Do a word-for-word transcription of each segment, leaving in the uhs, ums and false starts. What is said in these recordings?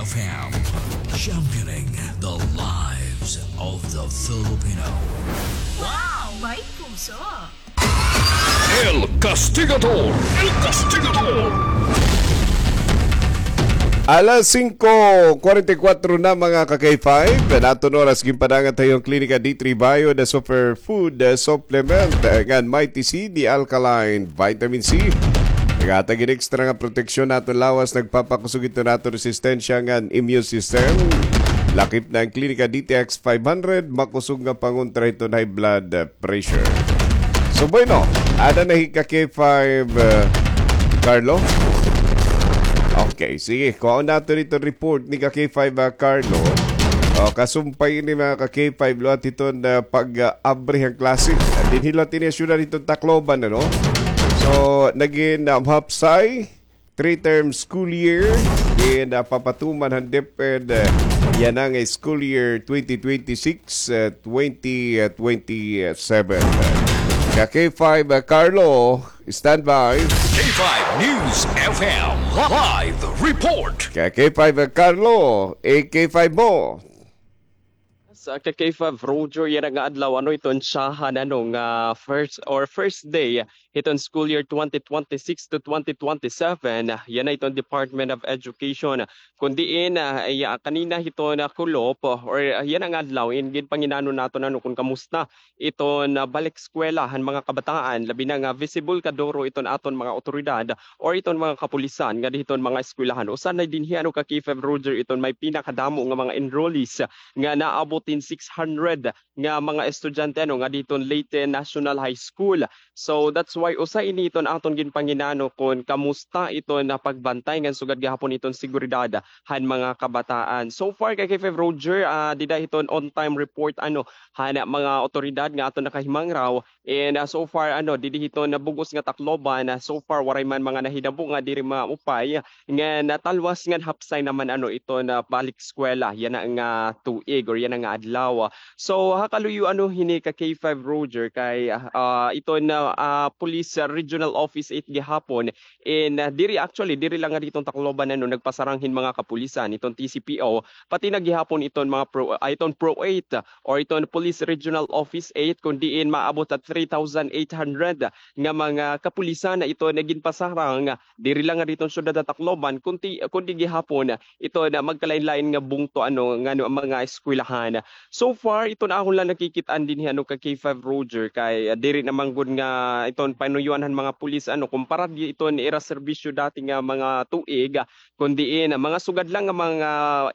F M, championing the lives of the Filipino. Wow! May puso! El Castigador! El Castigador! Alas singko kwarenta y kwatro na, mga ka-K five. Naton oras, ginpadangat ha iyo an Klinika D three Bio, the superfood, the supplement, eh, ngan Mighty C, the alkaline vitamin C. Naghatag hin extra nga proteksyon ha aton lawas, nagpapakusog hiton aton resistensya ngan immune system. Lakip na an Klinika D T X five hundred, makusog nga pangontra hiton high blood, eh, pressure. So, bueno, ada na hi ka-K five, eh, Carlo? Okay, sige. Kuhaon naton iton report ni ka-K five, ah, Carlo. O, kasumpay ini, mga ka-K five, liwat hiton, ah, pag, ah, abri han klase. Dinhi liwat ini ha syudad hiton Tacloban, ano? So, nagin, ah, mahapsay, three-term school year, in, ah, papatuman han DepEd, ah, yana nga school year twenty twenty-six, ah, twenty, ah, twenty-seven. Ka-K five, ah, Carlo, stand by. K five News F M live report. Ka-K five, ah, Carlo, A K five mo. Sa ka-K five Roger, yana nga adlaw, ano, iton syahan, ano, nga first or first day hiton school year twenty twenty-six to twenty twenty-seven, yana iton Department of Education. Kun diin, ah, iya, kanina hiton, ah, kulop, or, ah, yana nga adlaw, in ginpanginano naton, ano, kun kamusta iton, ah, balik eskwela han mga kabataan, labi na nga visible kaduro iton aton mga awtoridad or iton mga kapulisan ngadi hiton mga eskwelahan. Usa na dinhi, ano, ka-K five Roger, iton may pinakadamo nga mga enrollees nga naabot hin six hundred nga mga estudyante, ano, ngadi hiton Leyte National High School. So, that's why usa ini iton aton ginpanginano kun kamusta iton, ah, pagbantay ngan sugad gihapon iton seguridad han mga kabataan. So far, ka-K five Roger, ah, dida hiton on-time report, ano, han mga awtoridad nga aton nakahimangraw. And, ah, so far, ano, didi hiton bug-os nga Tacloban, ah, so far, waray man mga nahitabo nga diri maupay. Ngan, ah, talwas ngan hapsay naman, ano, iton balik eskwela yana nga tuig or yana nga adlaw. So, ha kaluyo, ano, hini, ka-K five Roger, kay, ah, iton, ah, Police, ah, Regional Office eight gihapon, in, ah, diri, actually, diri la ngadi hiton Tacloban, ano, nagpasarang hin mga kapulisan, iton T C P O, pati na gihapon iton mga pro, ah, iton Pro eight, ah, or iton Police Regional Office eight, kun diin maabot ha three thousand eight hundred nga mga kapulisan na iton ginpasarang, diri la ngadi hiton syudad ha Tacloban, kundi, kundi gihapon iton magkalain-lain nga bungto, ano, ngano, mga eskwelahan. So far, iton akon la nakikit-an dinhi, ano, ka-K five Roger, kay, ah, diri na man gud nga iton panuyuan han mga pulis, ano, kumpara di iton ira serbisyo dati nga mga tuig, ah, kun diin, ah, mga sugad la nga mga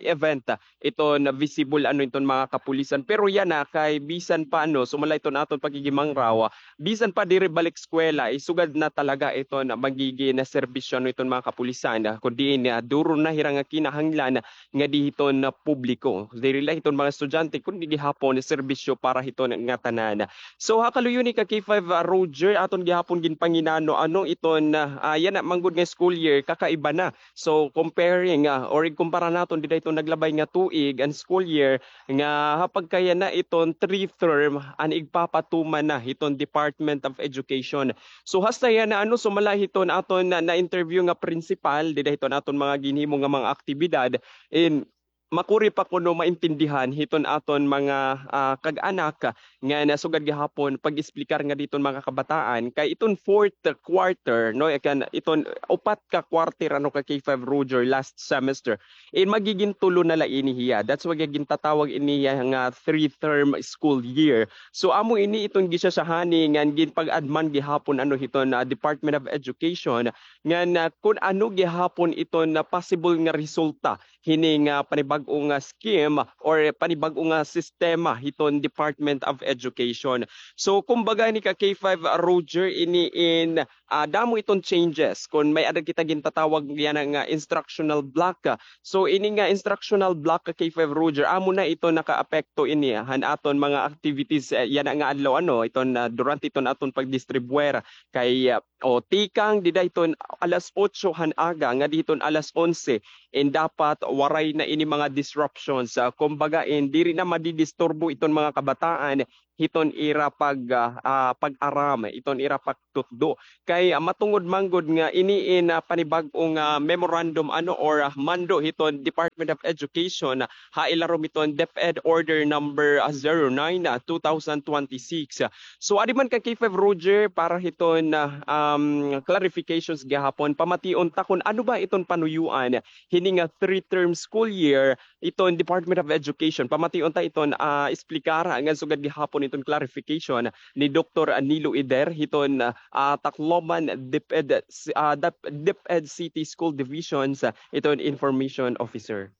event, ah, iton visible, ano, iton mga kapulisan. Pero yana, kay bisan pa, ano, sumala iton aton paghihimangraw, ah, bisan pa diri balik eskwela, isugad na talaga iton magigin serbisyo, ano, iton mga kapulisan, ah, kun diin, ah, duro na hira nga kinahanglan ngadi hiton publiko. Diri la hiton mga estudyante, kundi gihapon serbisyo para hiton ngatanan. So, ha kaluyo ni, ka-K five, ah, Roger, aton gihapon ginpanginano, ano, iton, ah, yana man gud nga school year, kakaiba na. So, comparing, ah, or igkumpara naton dida hiton naglabay nga tuig, an school year, nga ha pagkayana iton three term an igpapatuman na hiton Department of Education. So, hasta yana, ano, sumala hiton aton na, na-interview nga principal, dida hiton aton mga ginhimo nga mga aktibidad, in makuri pa kuno maintindihan hiton aton mga, ah, kag-anak nga nasugad gihapon pag-explicar ngadi hiton mga kabataan kay iton fourth quarter, no, ikan, iton upat ka quarter, ano, ka-K five Roger, last semester, in magigin tulo na la ini hiya. That's why gintatawag ini hiya nga three-term school year. So, amo ini iton gisyasyahani ngan ginpag-adman gihapon, ano, hiton, ah, Department of Education ngan, ah, kun ano gihapon iton, ah, possible nga resulta hini nga panibag-o nga scheme or panibag-o nga sistema hiton Department of Education. So, kumbaga ni ka-K five Roger, ini in, ah, damo iton changes. Kun may-ada kita gintatawag yana nga instructional block, ah. So, ini nga instructional block, ka-K five Roger, amo na ito nakaapekto ini, ah, han aton mga activities, eh, yana nga adlaw, ano, iton, ah, durante iton aton pagdistribuer kay, ah, o, tikang dida hiton alas otso han aga ngadi hiton alas onse, in dapat waray na ini mga disruptions. Ah, kumbaga, in diri na madidisturbo iton mga kabataan hiton ira pag, ah, ah, pag-aram, hiton ira pagtutdo. Kay, ah, matungod man gud nga ini in, ah, panibag-o nga memorandum ano or, ah, mando hiton Department of Education, ah, ha ilarom hiton DepEd Order Number, ah, zero nine, ah, two thousand twenty-six. So, adi man ka K five Roger para hiton, ah, um, clarifications gihapon, pamation ta kun ano ba iton panuyuan hini nga three-term school year iton Department of Education. Pamation ta iton, ah, esplikara ngan sugad gihapon iton clarification ni Doktor Nilo Eder hiton, ah, Tacloban DepEd, ah, Dep-, DepEd City School Divisions, ah, iton Information Officer.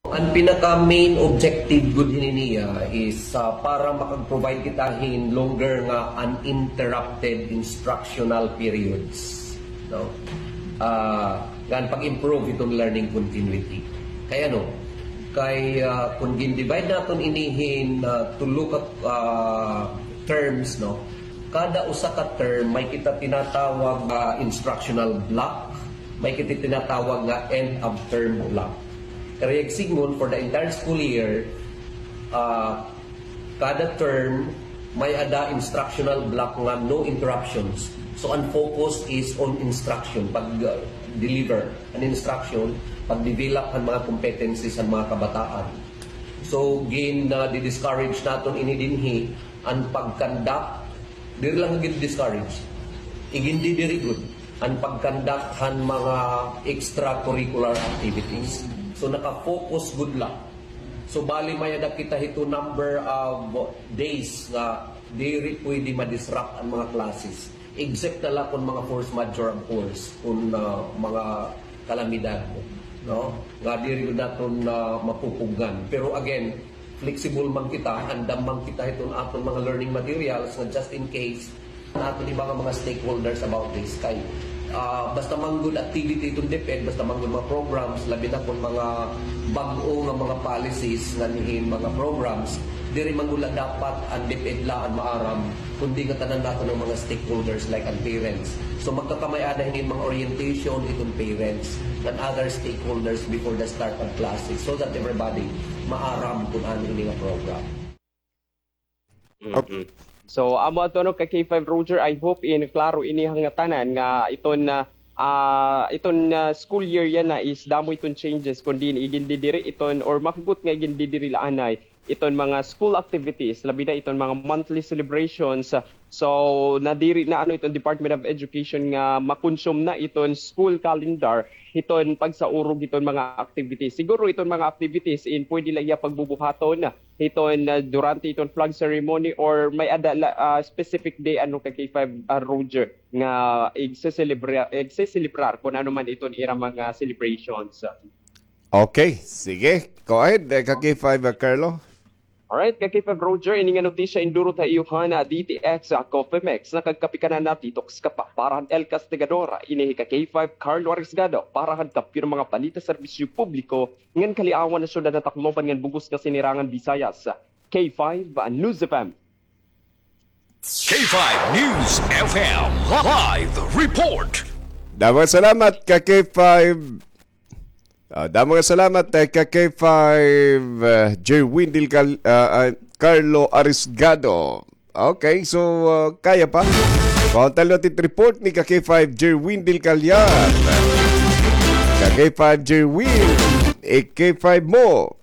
An pinaka main objective gud hini niya is, ah, para makag-provide kita hin longer nga uninterrupted instructional periods, no? Ah, ngan pag-improve hiton learning continuity. Kay ano, kay, ah, kun gin-divide naton ini hin, ah, tulo ka, ah, terms, no? Kada usa ka term, may kita tinatawag nga instructional block, may kita tinatawag nga end of term block. Karuyag sidngon, for the entire school year, ah, kada term, may-ada instructional block nga no interruptions. So, an focus is on instruction, pag, ah, deliver an instruction, pag-develop han mga competencies han mga kabataan. So, gin, ah, di-discourage naton ini dinhi, an pag-conduct, diri lang gin-discourage. Igindidiri gud an pag-conduct han mga extracurricular activities. So, naka-focus gud la. So, bali, may-ada kita hito number of days nga diri pwede ma-disrupt an mga classes. Except na la kon mga force majeure, of course, kon, ah, mga kalamidad, no? Nga diri gud naton, ah, mapupugngan. Pero again, flexible man kita, andam man kita hiton aton mga learning materials nga just in case an aton iba nga mga stakeholders about this. Kay, ah, basta man gud activity iton DepEd, basta man gud mga programs, labi na kon mga bag-o nga mga policies ngan hin mga programs, diri man gud la dapat an DepEd la an maaram, kundi ngatanan naton nga mga stakeholders like an parents. So, magkakamay-ada hini mga orientation iton parents ngan other stakeholders before the start of classes so that everybody maaram kon ano ini nga program. Mm-mm. So, amo adto, ano, ka K five Roger, I hope in klaro ini ha ngatanan nga iton, ah, ah, iton, ah, school year yana is damo iton changes, kundi igindidiri iton, or mahugot nga igindidiri la anay iton mga school activities, labi na iton mga monthly celebrations. So, nadiri na, ano, iton Department of Education nga ma-consume na iton school calendar hiton pagsaurog hiton mga activities. Siguro iton mga activities in pwede la iya pagbubuhaton hiton, ah, durante iton flag ceremony or may-ada la, ah, specific day, ano, ka K five, ah, Roger, nga igseselebra-, igseselebrar kon ano man iton ira mga celebrations. Okay, sige. Go ahead, eh, ka K five, ah, Carlo. Alright, ka K five Roger, ini nga notisya indurot ha iyo han, ah, D T X, ah, Coffee Mix. Nakagkape ka na, na-detox ka pa. Para han El Castigador, ini hi ka K five Carlo Arriesgado. Para han Kampiyon nga mga balita, serbisyo publiko, ngan kaliawan han syudad han Tacloban ngan bug-os nga sinirangan Visayas. K five, ah, News F M. K five News F M live report. Damo nga salamat ka K five. Ah, damo nga salamat, eh, ka K five, eh, Jerwin Del Cal-, ah, ah, Carlo Arisgado. Okay, so, ah, kaya pa. Pauntal natin report ni ka K five Jerwin Del Callar. Ka K five Jerwin, eh, K five mo.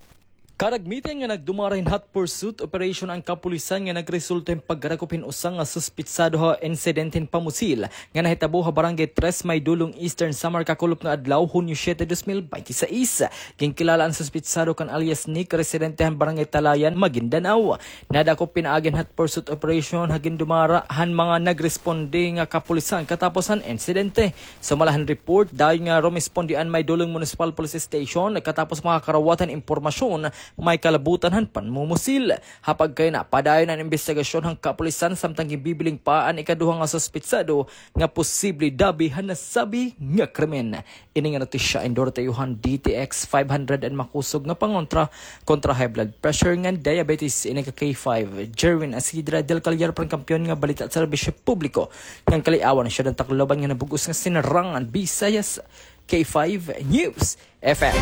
Karagmitan nga nagdumara hin hot pursuit operation an kapulisan nga nagresulta hin pagdakop hin usa nga suspitsado ha insidente hin pamusil nga nahitabo ha Barangay Tres Maydolong, Eastern Samar, kakulop nga adlaw, Hunyo siete, dos mil baynte sais. Ginkilala an suspitsado kan alias Nick, residente han Barangay Talayan, Maguindanao. Nadakop pinaagi hin hot pursuit operation ha gindumara han mga nagresponde nga kapulisan katapos han insidente. Sumala han report, dayon nga rumesponde an Maydolong Municipal Police Station katapos makakarawat han impormasyon may kalabutan han panmumusil. Ha pagkayana, padayon an imbestigasyon han kapulisan samtang ginbibiling pa an ikaduha nga suspitsado nga posible dabi han nasabi nga krimen. Ini nga notisya indurot ha iyo han D T X five hundred an makusog nga pangontra kontra high blood pressure ngan diabetes. Ini ka K five, Jerwin Asidra Del Callar, para han Kampiyon nga Balita at Serbisyo Publiko ngan kaliawan han syudad han Tacloban ngan bug-os nga sinirangan Visayas, K five News F M.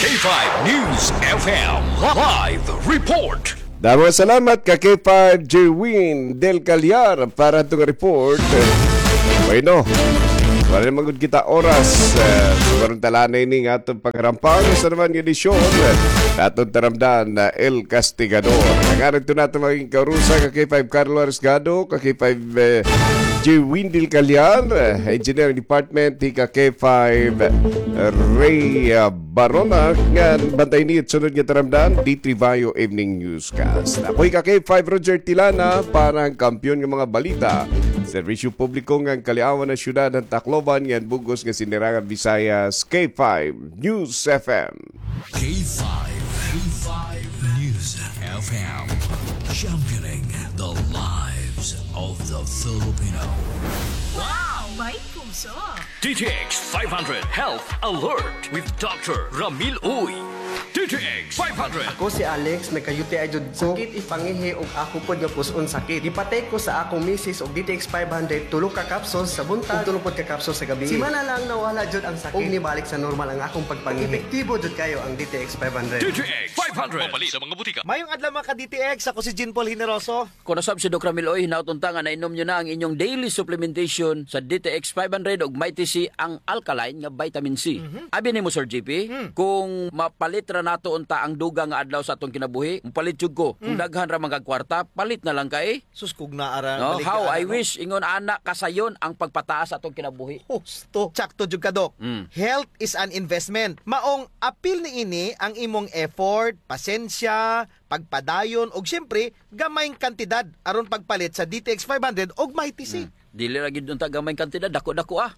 K five News F M live report. Damo nga salamat ka K five Jerwin Del Callar para hito nga report. Bueno, wala na man gud kita oras. Uh, so, karon talanay ini nga aton pagharampa sa naman nga edisyon. Aton taramdan na El Castigador. Ang arin ito natin maging kaurusa ka K five Carlo Arisgado, ka K five, eh, Jerwin Del Callar, eh, Engineering Department, hi ka K five Ray, ah, Barona, nga bantay niyo sunod nga taramdan, D three Bayo Evening Newscast. Ako'y ka K five Roger Tilana para ang kampiyon nga mga balita. Serbisyo publiko nga ang kaliawan ng syudad ng Tacloban, nga bug-os nga sinirangan Visayas, K five News F M. K five, K five News F M, championing the lives of the Filipino. Wow! May puso! D T X five hundred Health Alert with Doctor Ramil Uy. D T X five hundred. Ako si Alex, nagka-U T I jud ko. Sakit ipangihi ug ako pod nga pus-on sakit. Gipatake ko sa akong misis og D T X five hundred, tulo ka capsules sa buntag ug tulo pod ka capsules sa gabi. Simana lang nawala jud ang sakit ug nibalik sa normal ang akong pagpangihi. Epektibo jud kayo ang D T X five hundred. D T X five hundred. Mapalit sa mga butika. Mayong adlaw, mga ka-D T X. Ako si Jean Paul Generoso. Kuno sab si Doc Ramil Uy, hinaot unta nga nainom niyo na ang inyong daily supplementation sa D T X five hundred ug Mighty C, ang alkaline nga vitamin C. Mhm. Abi nimo, Sir J P, hmm, kung mapalit ra nato unta ang dugang nga adlaw sa atong kinabuhi, mopalit jud ko. Kung, hmm, daghan ra man kag kwarta, palit na lang kay. Sus, kung naa ra, no? Balik ka, ano? How I wish, ingon ana, kasayon ang pagpataas sa atong kinabuhi. Husto. Tsakto jud ka, Doc. Mm. Health is an investment. Maong apil niini ang imong effort, pasensya, pagpadayon, ug siyempre, gamayng kantidad aron pagpalit sa D T X five hundred ug Mighty C. Hmm. Dili ra gyud unta gamayng kantidad, dako-dako, ah.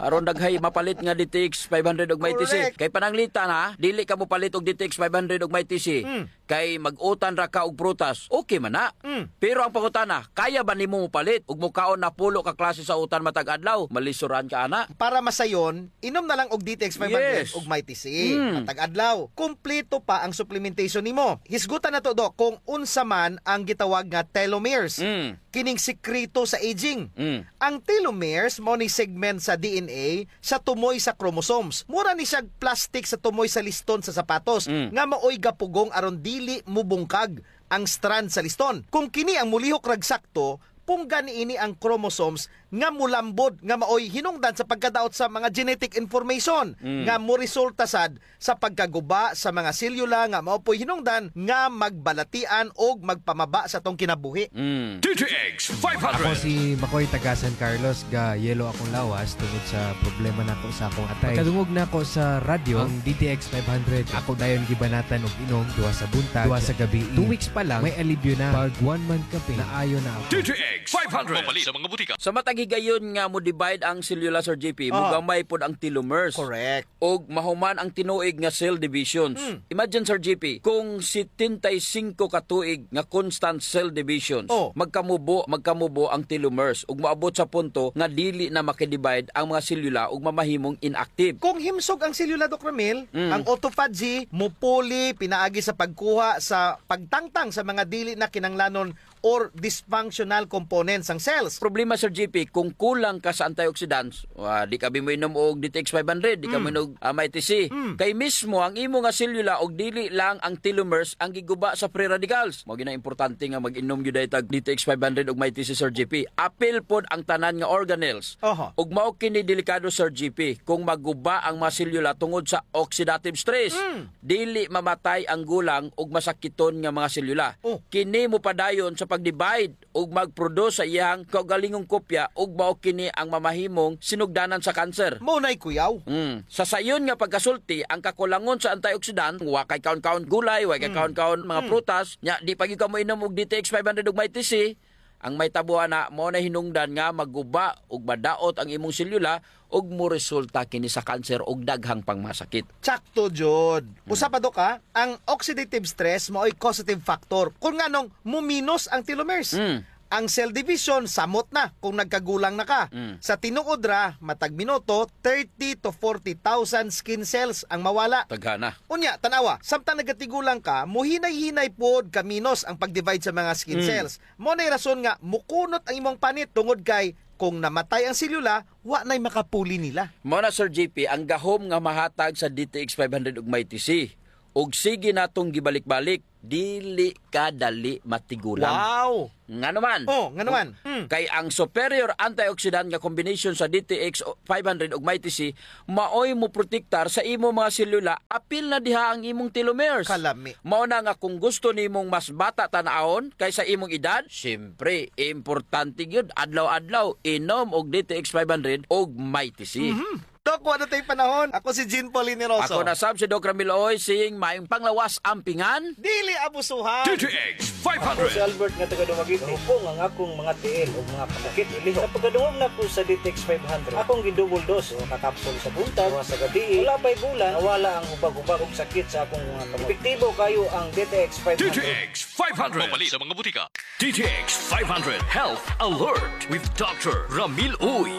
Aron daghay mapalit nga D T X five hundred ug Mighty C. Correct. Kay pananglitan, ha, dili ka mopalit og D T X five hundred ug Mighty C. Hmm. Kay mag-utan ra ka og prutas. Okay man na. Hmm. Pero ang pangutana, kaya ba nimo mopalit ug mokaon na pulo ka klase sa utan matag adlaw? Malisoran ka ana. Para masayon, inom na lang og D T X five hundred, yes, ug Mighty C. Mm. Matag adlaw. Kumpleto pa ang supplementation nimo. Hisgutan nato, Doc, kung unsa man ang gitawag nga telomeres. Mm. Kining sikreto sa aging. Mm. Ang telomeres mao ni segment sa D N A sa tumoy sa chromosomes. Mura ni siya plastic sa tumoy sa liston sa sapatos, mm, nga maoy gapugong aron dili mubungkag ang strand sa liston. Kung kini ang mulihok rag sakto, punggan niini ang chromosomes nga mulambod, nga maoy hinungdan sa pagkadaot sa mga genetic information, mm, nga moresulta sad sa pagkaguba sa mga selyula nga mao po'y hinungdan nga magbalatian og magpamaba sa atong kinabuhi. Mm. D T X five hundred. Ako si Makoy, taga San Carlos, ga-yellow akong lawas tungod sa problema nako sa akong atay. Pagkadungog nako sa radyo, ang D T X five hundred, ako dayon gibanatan og inom duha sa buntag, duha sa gabii. Two weeks pa lang, may alibyo na. Pag one month ka pa, naayo na ako. D T X five hundred. Mapalit sa mga butika. Sa matag higayon nga mo-divide ang selula, Sir J P, ah, mogamay pod ang telomeres. Correct. Og mahuman ang tinuig nga cell divisions. Hmm. Imagine, Sir J P, kung setenta y cinco ka tuig nga constant cell divisions, oh, magkamubo, magkamubo ang telomeres ug moabot sa punto nga dili na makidivide ang mga selula ug mamahimong inactive. Kung himsog ang selula, Doc Ramil, mm, ang autophagy mupuli pinaagi sa pagkuha sa pagtangtang sa mga dili na kinahanglanon or dysfunctional components sang cells. Problema, Sir J P, kung kulang ka sa antioxidants, wa, di ka bi moinom og D T X five hundred, di ka, mm, moinom og, ah, Mighty C. Mm. Kay mismo ang imo nga selula og dili lang ang telomeres ang giguba sa free radicals. Mao gyud na importante nga mag-inom gyud diay tag D T X five hundred og Mighty C, Sir J P. Apil pod ang tanan nga organelles. Aha. Ug mao kini delikado, Sir J P, kung maguba ang mga selula tungod sa oxidative stress. Mm. Dili mamatay ang gulang ug masakiton nga mga selula. Oh. Kini mopadayon sa pag-divide ug mag-produce sa iyang kaugalingong kopya ug mao kini ang mamahimong sinugdanan sa cancer. Mao nay kuyaw. Mm. Sa sayon nga pagkasulti, ang kakulangon sa antioxidant, wa kay kaon-kaon gulay, wa kay, mm, kaon-kaon mga, mm, prutas, nya di pa gyud ka moinom og D T X five hundred ug Mighty C, ang mahitabo ana, mao na hinungdan nga maguba ug madaot ang imong selula ug moresulta kini sa cancer ug daghang pang masakit. Tsakto jud. Mm. Usa pa, Doc, ha, ang oxidative stress maoy causative factor kun nganong muminos ang telomeres. Mm. Ang cell division, samot na kung nagkagulang na ka. Mm. Sa tinuod ra, matag minuto, thirty to forty thousand skin cells ang mawala. Daghana. Unya, tan-awa, samtang nagatigulang ka, muhinay-hinay pod kaminos ang pag-divide sa mga skin, mm, cells. Mao nay rason nga mukunot ang imong panit tungod kay kung namatay ang selula, wa nay makapuli nila. Mao na, Sir J P, ang gahom nga mahatag sa D T X five hundred ug Mighty C. Ug sige natong gibalik-balik, dili ka dali matigulang. Wow! Ngano man? Oh, ngano man? Mm. Kay ang superior antioxidant nga combination sa D T X five hundred ug Mighty C maoy moprotektar sa imong mga selula, apil na diha ang imong telomeres. Kalami. Mao na nga kung gusto nimong mas bata tan-awon kaysa imong edad, siyempre, importante gyud, adlaw-adlaw, inom og D T X five hundred ug Mighty C. Mhm. Doc, wala na tay panahon. Ako si Jean Paul Generoso. Ako na sab si Doc Ramil Uy, saying maayong panglawas, ampingan. Dili abusuhan. D T X five hundred. Ako si Albert nga taga Dumaguete. Hupong ang akong mga tiil ug mga kasakit ilihok. Sa pagkadungog nako sa D T X five hundred, akong gi-double dose, usa ka kapsul sa buntag, usa sa gabii. Wala pa'y bulan, nawala ang hubag-hubag ug sakit sa akong mga kamot. Epektibo kaayo ang D T X five hundred. D T X five hundred. Mapalit sa mga butika. D T X five hundred Health Alert with Doctor Ramil Uy.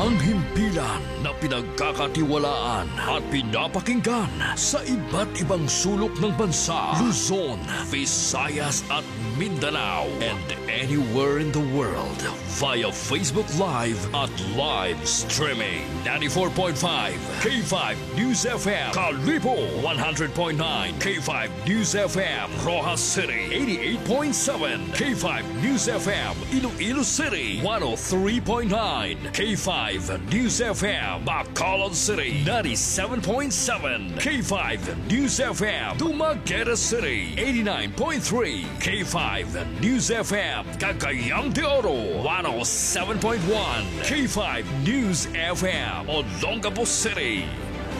Ang himpilan na pinagkakatiwalaan at pinapakinggan sa iba't ibang sulok ng bansa, Luzon, Visayas at Mindanao, and anywhere in the world via Facebook Live at live streaming. Ninety-four point five K five News F M, Kalibo, one hundred point nine K five News F M, Roxas City, eighty-eight point seven K five News F M, Iloilo City, one oh three point nine K five News F M, Bacolod City, ninety-seven point seven K five News F M, Dumaguete City, eighty-nine point three K five News F M, Cagayan de Oro, one oh seven point one K five News F M, Olongapo City.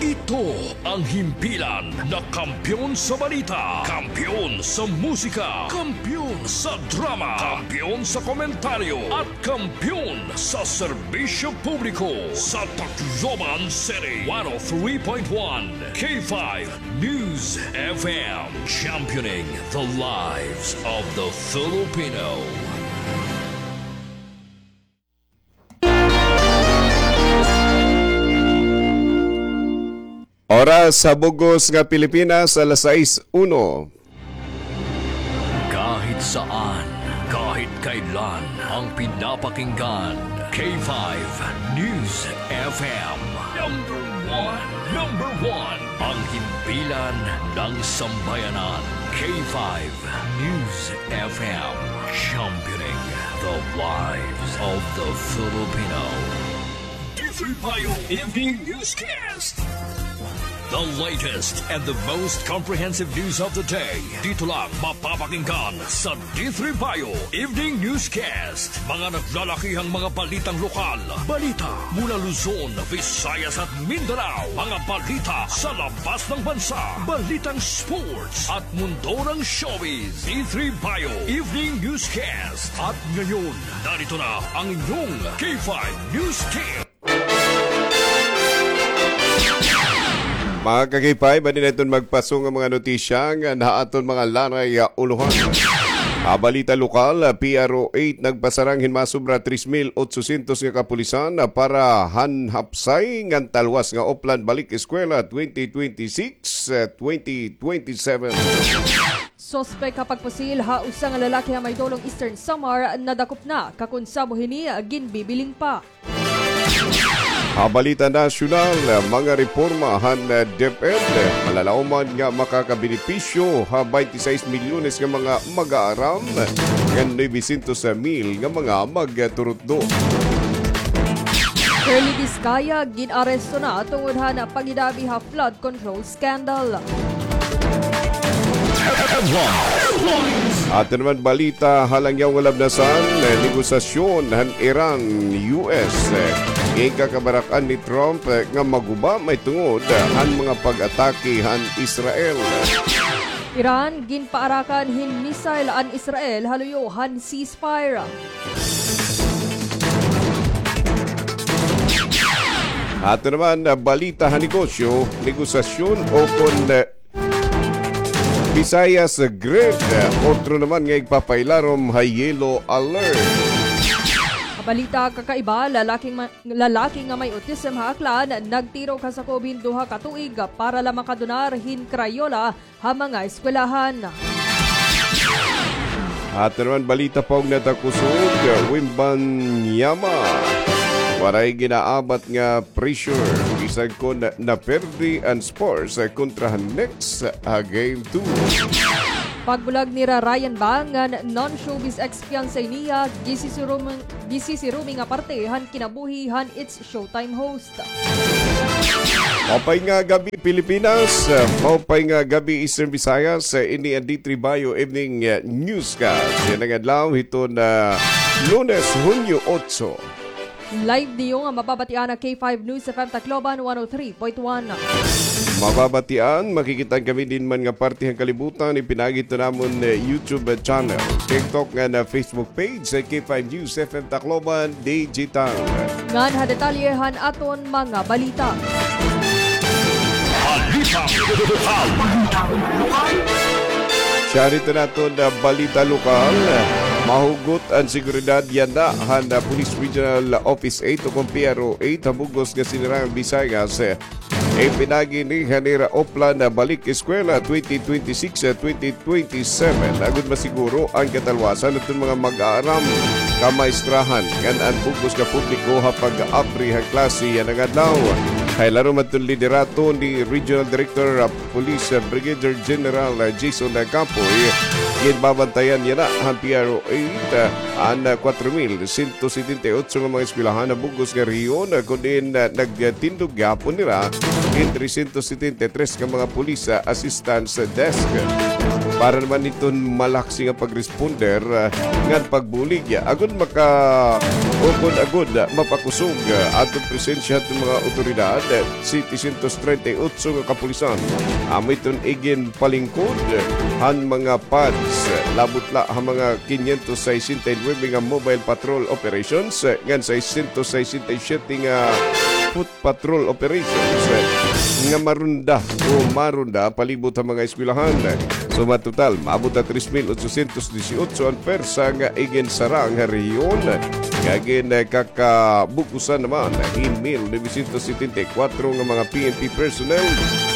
Ito ang himpilan na kampiyon sa balita, kampiyon sa musika, kampiyon sa drama, kampiyon sa komentaryo, at kampiyon sa serbisyo publiko sa Tacloban City. One oh three point one K five News F M, championing the lives of the Filipino. Oras sa bug-os nga Pilipinas, alas sais uno. Kahit saan, kahit kailan, ang pinapakinggan, K five News F M. Number one, number one, ang himpilan ng sambayanan, K five News F M, championing the lives of the Filipino. D three Payo Evening Newscast. The latest and the most comprehensive news of the day. Dito lang mapapakinggan sa D three Payo Evening Newscast. Mga naglalakihang mga balitang lokal. Balita mula Luzon, Visayas at Mindanao. Mga balita sa labas ng bansa. Balitang sports at mundo ng showbiz. D three Payo Evening Newscast. At ngayon, narito na ang inyong K five News Team. Mga ka-K five, adi na iton magpasong nga mga notisya nga ha aton mga lanay, ah, ulohan. Ha balita lokal, ah, P R O eight nagpasarang hin masobra tres mil otsosyentos nga kapulisan, ah, para han hapsay ngan talwas nga Oplan Balik Eskwela twenty twenty-six, ah, twenty twenty-seven. Suspek ha pagpusil ha usa nga lalaki ha may dulong Eastern Samar nadakop na, kakonsabo hini ginbibiling pa. Ha balita nasyonal, mga reporma han DepEd, malalaoman nga makakabenepisyo ha baynte sais milyones nga mga mag-aaram ngan nuwebesyentos mil nga mga magturutdo. Curly Discaya gin-aresto na tungod han paghidabi ha flood control scandal. Aton naman balita ha langyaw nga labnasan, eh, negosasyon han Iran, U S, eh, ginkabarak-an ni Trump, eh, nga maguba mahitungod, eh, han mga pag-atake han Israel. Iran, ginpaarakan hin missile an Israel ha luyo han ceasefire. Aton naman, ah, balita ha negosyo, negosasyon ukon, ah, Visayas Grid, ah, otro naman nga igpapailarom ha yellow alert. Balita kakaiba, lalaking ma-, lalaki nga may autism ha Aklan, nagtirok ha sakob hin duha ka tuig para la makadonar hin Crayola ha mga eskwelahan. Aton naman balita paugna ta kusog, Wembanyama. Waray ginaabat nga pressure. sangkon naperde an Spurs kontra han Knicks ha Game two. Pagbulag nira Ryan Bang ngan non-showbiz ex-fiancé niya, gisisiruming, gisisiruming nga parte han kinabuhi han It's Showtime host. Maupay nga gab-i, Pilipinas. Maupay nga gab-i, Eastern Visayas. Ini an D three Bayo Evening, uh, Newscast yana nga adlaw hiton Lunes, Hunyo otso. Live niyo nga mababatian ha K five News F M Tacloban one oh three point one. Mababatian, makikit-an kami diin man nga parte han kalibutan, ipinaagi hiton amon, eh, YouTube channel, TikTok ngan Facebook page, eh, K five News F M Tacloban Digital. Ngan ha detalye han aton mga balita. Balita. Siya rito naton, ah, balita lokal. Mahugot an seguridad yana han, ah, Police Regional Office eight o kon P R O eight ha bug-os nga Sinirangan Visayas. Ipinaagi ini han ira Oplan Balik Eskwela twenty twenty-six, twenty twenty-seven. Agod masiguro an katalwasan han aton mga mag-aaram, kamaestrahan, ngan an bug-os nga publiko ha pag-abri han klase yana nga adlaw. Ha ilarom han aton liderato ni Regional Director, ah, Police, ah, Brigadier General, ah, Jason, ah, Capoy, ginbabantayan yana han P R O eight, ah, an, ah, kwatro mil sento setenta y otso nga mga eskwelahan ha bug-os nga rehiyon, ah, kon diin, ah, nagtindog gihapon hira an trescientos setenta y tres nga mga police, ah, assistance desk. Para naman hiton malaksi nga pagres- ponder, ah, ngan pagbulig, ah, agod maka-, o kon agod, ah, mapakusog, ah, aton presensya han mga awtoridad, ah, setecientos treinta y ocho nga kapulisan. Amo iton iginpalingkod, ah, han mga pads, ah, labot la ha mga quinientos sesenta y nueve nga mobile patrol operations, ah, ngan seiscientos sesenta y siete nga foot patrol operations, eh, nga marunda o marunda palibot ha mga eskwelahan. Suma total, maabot ha tres mil ochocientos dieciocho an pwersa nga iginsarang ha rehiyon. Kag in, eh, kakabug-osan naman, hin mil novecientos setenta y kuwatro nga mga P N P personnel,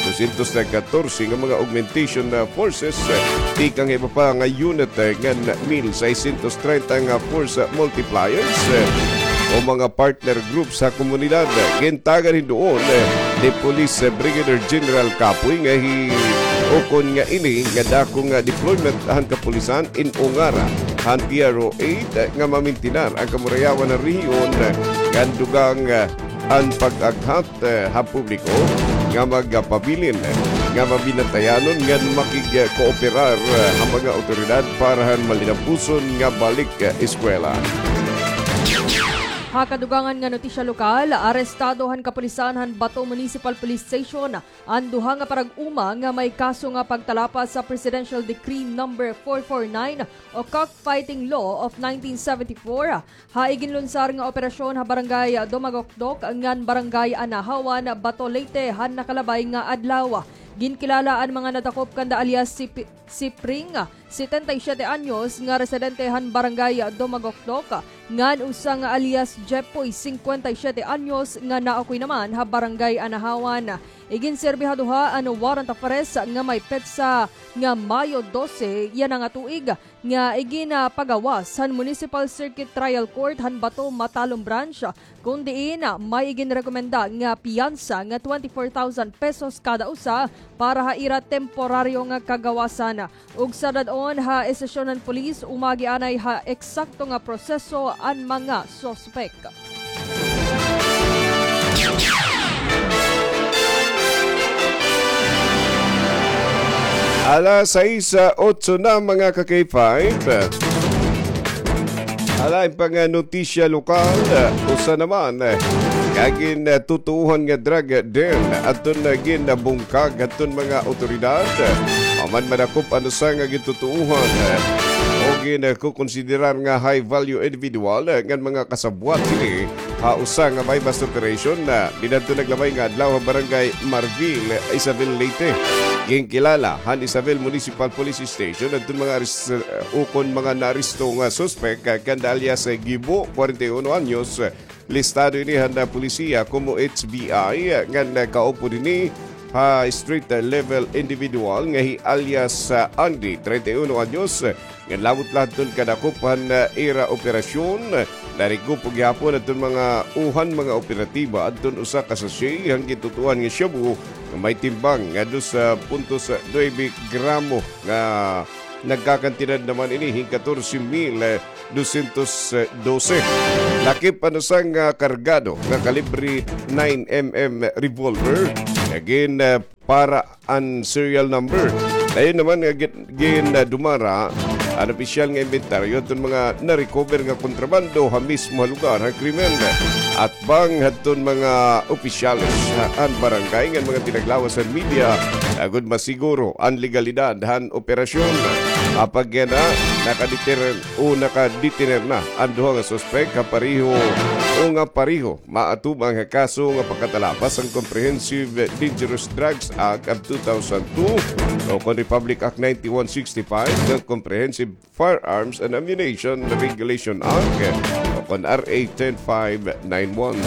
dosyentos katorse nga mga augmentation, eh, forces, eh, tikang iba pa nga unit, eh, ngan mil seiscientos treinta nga force multipliers, eh, o mga partner groups ha komunidad. Gintagan hin duon, eh, ni Police, eh, Brigadier General Capoy nga hi-, ukon nga ini nga dako nga deployment han kapulisan in ungara han P R O eight, eh, nga mamintinar an kamurayawan han rehiyon, eh, ngan dugang, eh, an pag-aghat, eh, ha publiko nga magpabilin, eh, nga mabinantayanon ngan makigkooperar, eh, ha mga awtoridad para han malinampuson nga balik, eh, eskwela. Ha kadugangan nga notisya lokal, arestado han kapulisan han Bato Municipal Police Station an duha nga parag-uma nga may kaso nga pagtalapas sa Presidential Decree Number four four nine o Cockfighting Law of nineteen seventy-four ha iginlunsar nga operasyon ha Barangay Dumagokdok ngan Barangay Anahawan, Bato, Leyte, han nakalabay nga adlaw. Ginkilala an mga nadakop kanda alias si Pi-, si Pring, setenta y siete anyos, nga residente han Barangay Dumagokdok, ngan usa nga alias Jepoy, singkwenta y siyete anyos, nga naaukoy naman ha Barangay Anahawan. Iginserbi ha duha an warrant of arrest nga may petsa nga Mayo dose yana nga tuig, nga iginpagawas han Municipal Circuit Trial Court han Bato Matalom Branch, kon diin may iginrekomenda nga piyansa nga twenty-four thousand pesos kada usa para ha ira temporaryo nga kagawasan. Ug sa dad-on ha estasyon han pulis, umagi anay ha eksakto nga proseso an mga suspek. Alas sais, ah, otso na, mga ka-K five. Ala, in pang, ah, notisya lokal, ah, usa naman, ah, kagin, ah, tutuohan nga drug, ah, den, aton, ah, ginabungkag aton mga awtoridad. Human madakop an usa nga gintutuohan, ah, o gin, ah, kukonsiderar nga high value individual, ah, ngan mga kasabwat hini ha usa nga buy-bust operation, ah, dinadto naglabay nga adlaw ha Barangay Marvil, Isabel, Leyte. Ginkilala han Isabel Municipal Police Station adton mga ares-, ah, ukon mga naaresto nga suspek, ah, kanda alias, ah, Gibo, kwarenta y uno anyos, ah, listado ini han, ah, polisiya komo H V I, ah, ngan, ah, kaupod hini pa street level individual nga hi alias, ah, Andy, treinta y uno anyos, nga labot la hadton kadakop han, ah, ira operasyon. Narikupo gihapon hadton mga uhan mga operatiba hadton usa ka sachet han gintutuohan nga shabu nga may timbang nga dos punto nuebe gramo nga nagkakantidad naman ini hin katorse mil dosyentos dose. Lakip an usa nga kargado nga kalibre nine M M revolver nga gin, ah, para an serial number. Dayon naman nga gin, gin, ah, dumara an opisyal nga imbentaryo hadton mga na-recover nga kontrabando ha mismo ha lugar ha krimen. Atbang hadton mga opisyales han barangay ngan mga tinaglawas han media agod masiguro an legalidad han operasyon. Apag yana, nakadeter o nakadetener na an duha nga suspek ha pareho o nga pareho maatubang ha kaso nga pagkatalapas han Comprehensive Dangerous Drugs Act of two thousand two o kon Republic Act ninety-one sixty-five ngan Comprehensive Firearms and Ammunition Regulation Act o kon R A ten five nine one.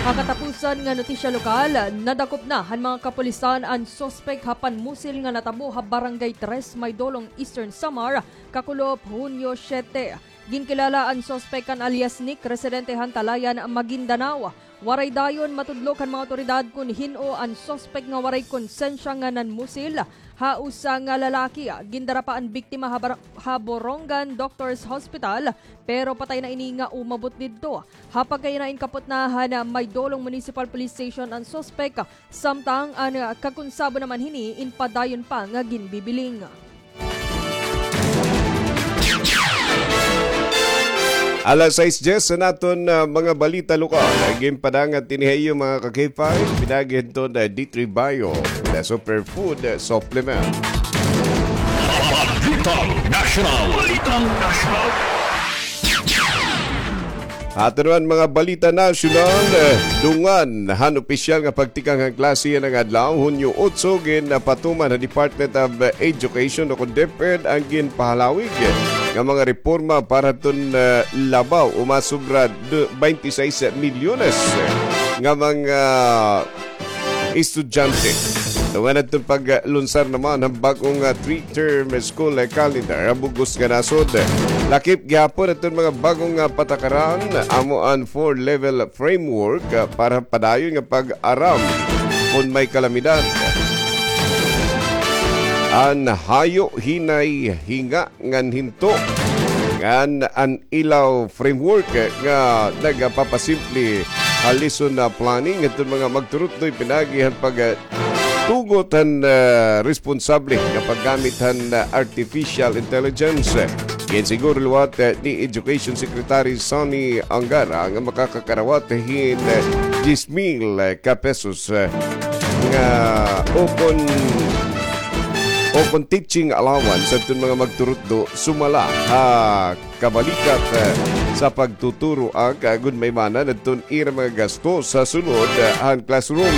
Ha katapusan nga notisya lokal, nadakop na han mga kapulisan an suspek ha panmusil nga natabo ha Barangay Tres, Maydolong, Eastern Samar, kakulop Hunyo siyete. Ginkilala an suspek kan alias Nick, residente han Talayan, Maguindanao. Waray dayon matudlok han mga awtoridad kon hin-o an suspek nga waray konsensya nga nanmusil ha usa nga lalaki. Gindara pa an biktima ha bar-, ha Borongan Doctors Hospital, pero patay na ini nga umabot didto. Ha pagkayana, inkapot na han Maydolong Municipal Police Station an suspek, samtang an kakonsabo naman hini in padayon pa nga ginbibiling. Alas sais dyes an aton, ah, mga balita lokal. Ginpadangat ini ha iyo, mga ka-K five, pinaagi hadton, ah, D three Bio, the superfood, ah, supplement. Balitang Nasyonal. Balitang Nasyonal. Ato naman mga balita nasyonal, eh, dungan han opisyal nga pagtikang han klase yana nga adlaw, Hunyo otso, ginpatuman han Department of Education o kon DepEd an ginpahalawig nga mga reporma para hadton, eh, labaw o masobra du-, baynte sais milyones nga mga estudyante. Dungan hadton paglunsar naman han bag-o nga three-term school calendar ha bug-os nga nasod. Lakip gihapon hadton mga bag-o nga patakaran, amo an four-level framework, ah, para padayon nga pag-aram kon may kalamidad. An hayo, hinay, hinga, ngan hinto ngan an ilaw framework nga nagapapasimple ha lesson planning ngadton mga magturutdoy pinaagi han pagtugot han, ah, responsable nga paggamit han, ah, artificial intelligence. Ginsiguro liwat, ah, ni Education Secretary Sonny Angara nga makakakarawat hin, ah, diyes mil ka pesos, ah, nga ukon, ukon teaching allowance adton mga magturutdo sumala ha kabalikat, eh, sa pagtuturo agod maimanan adton ira mga gasto sa sulod, eh, han classroom.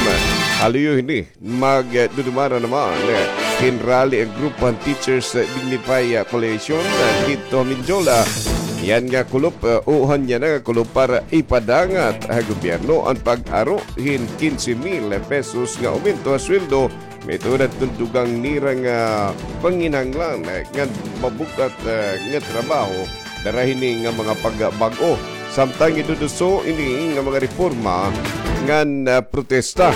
Ha luyo hini, magdudumara naman, eh, hin rally an grupo han Teachers, eh, Dignify, eh, Coalition, eh, didto ha Mendiola. Yana nga kulop, eh, o yana nga kulop para ipadangat ha gobyerno an pag-aro hin kinse mil pesos nga aumento ha sweldo, maituod hadton dugang nira nga panginahanglan, eh, ngan mabug-at, eh, nga trabaho dara hini nga mga pagbag-o. Samtang iduduso ini nga mga reporma ngan, eh, protesta.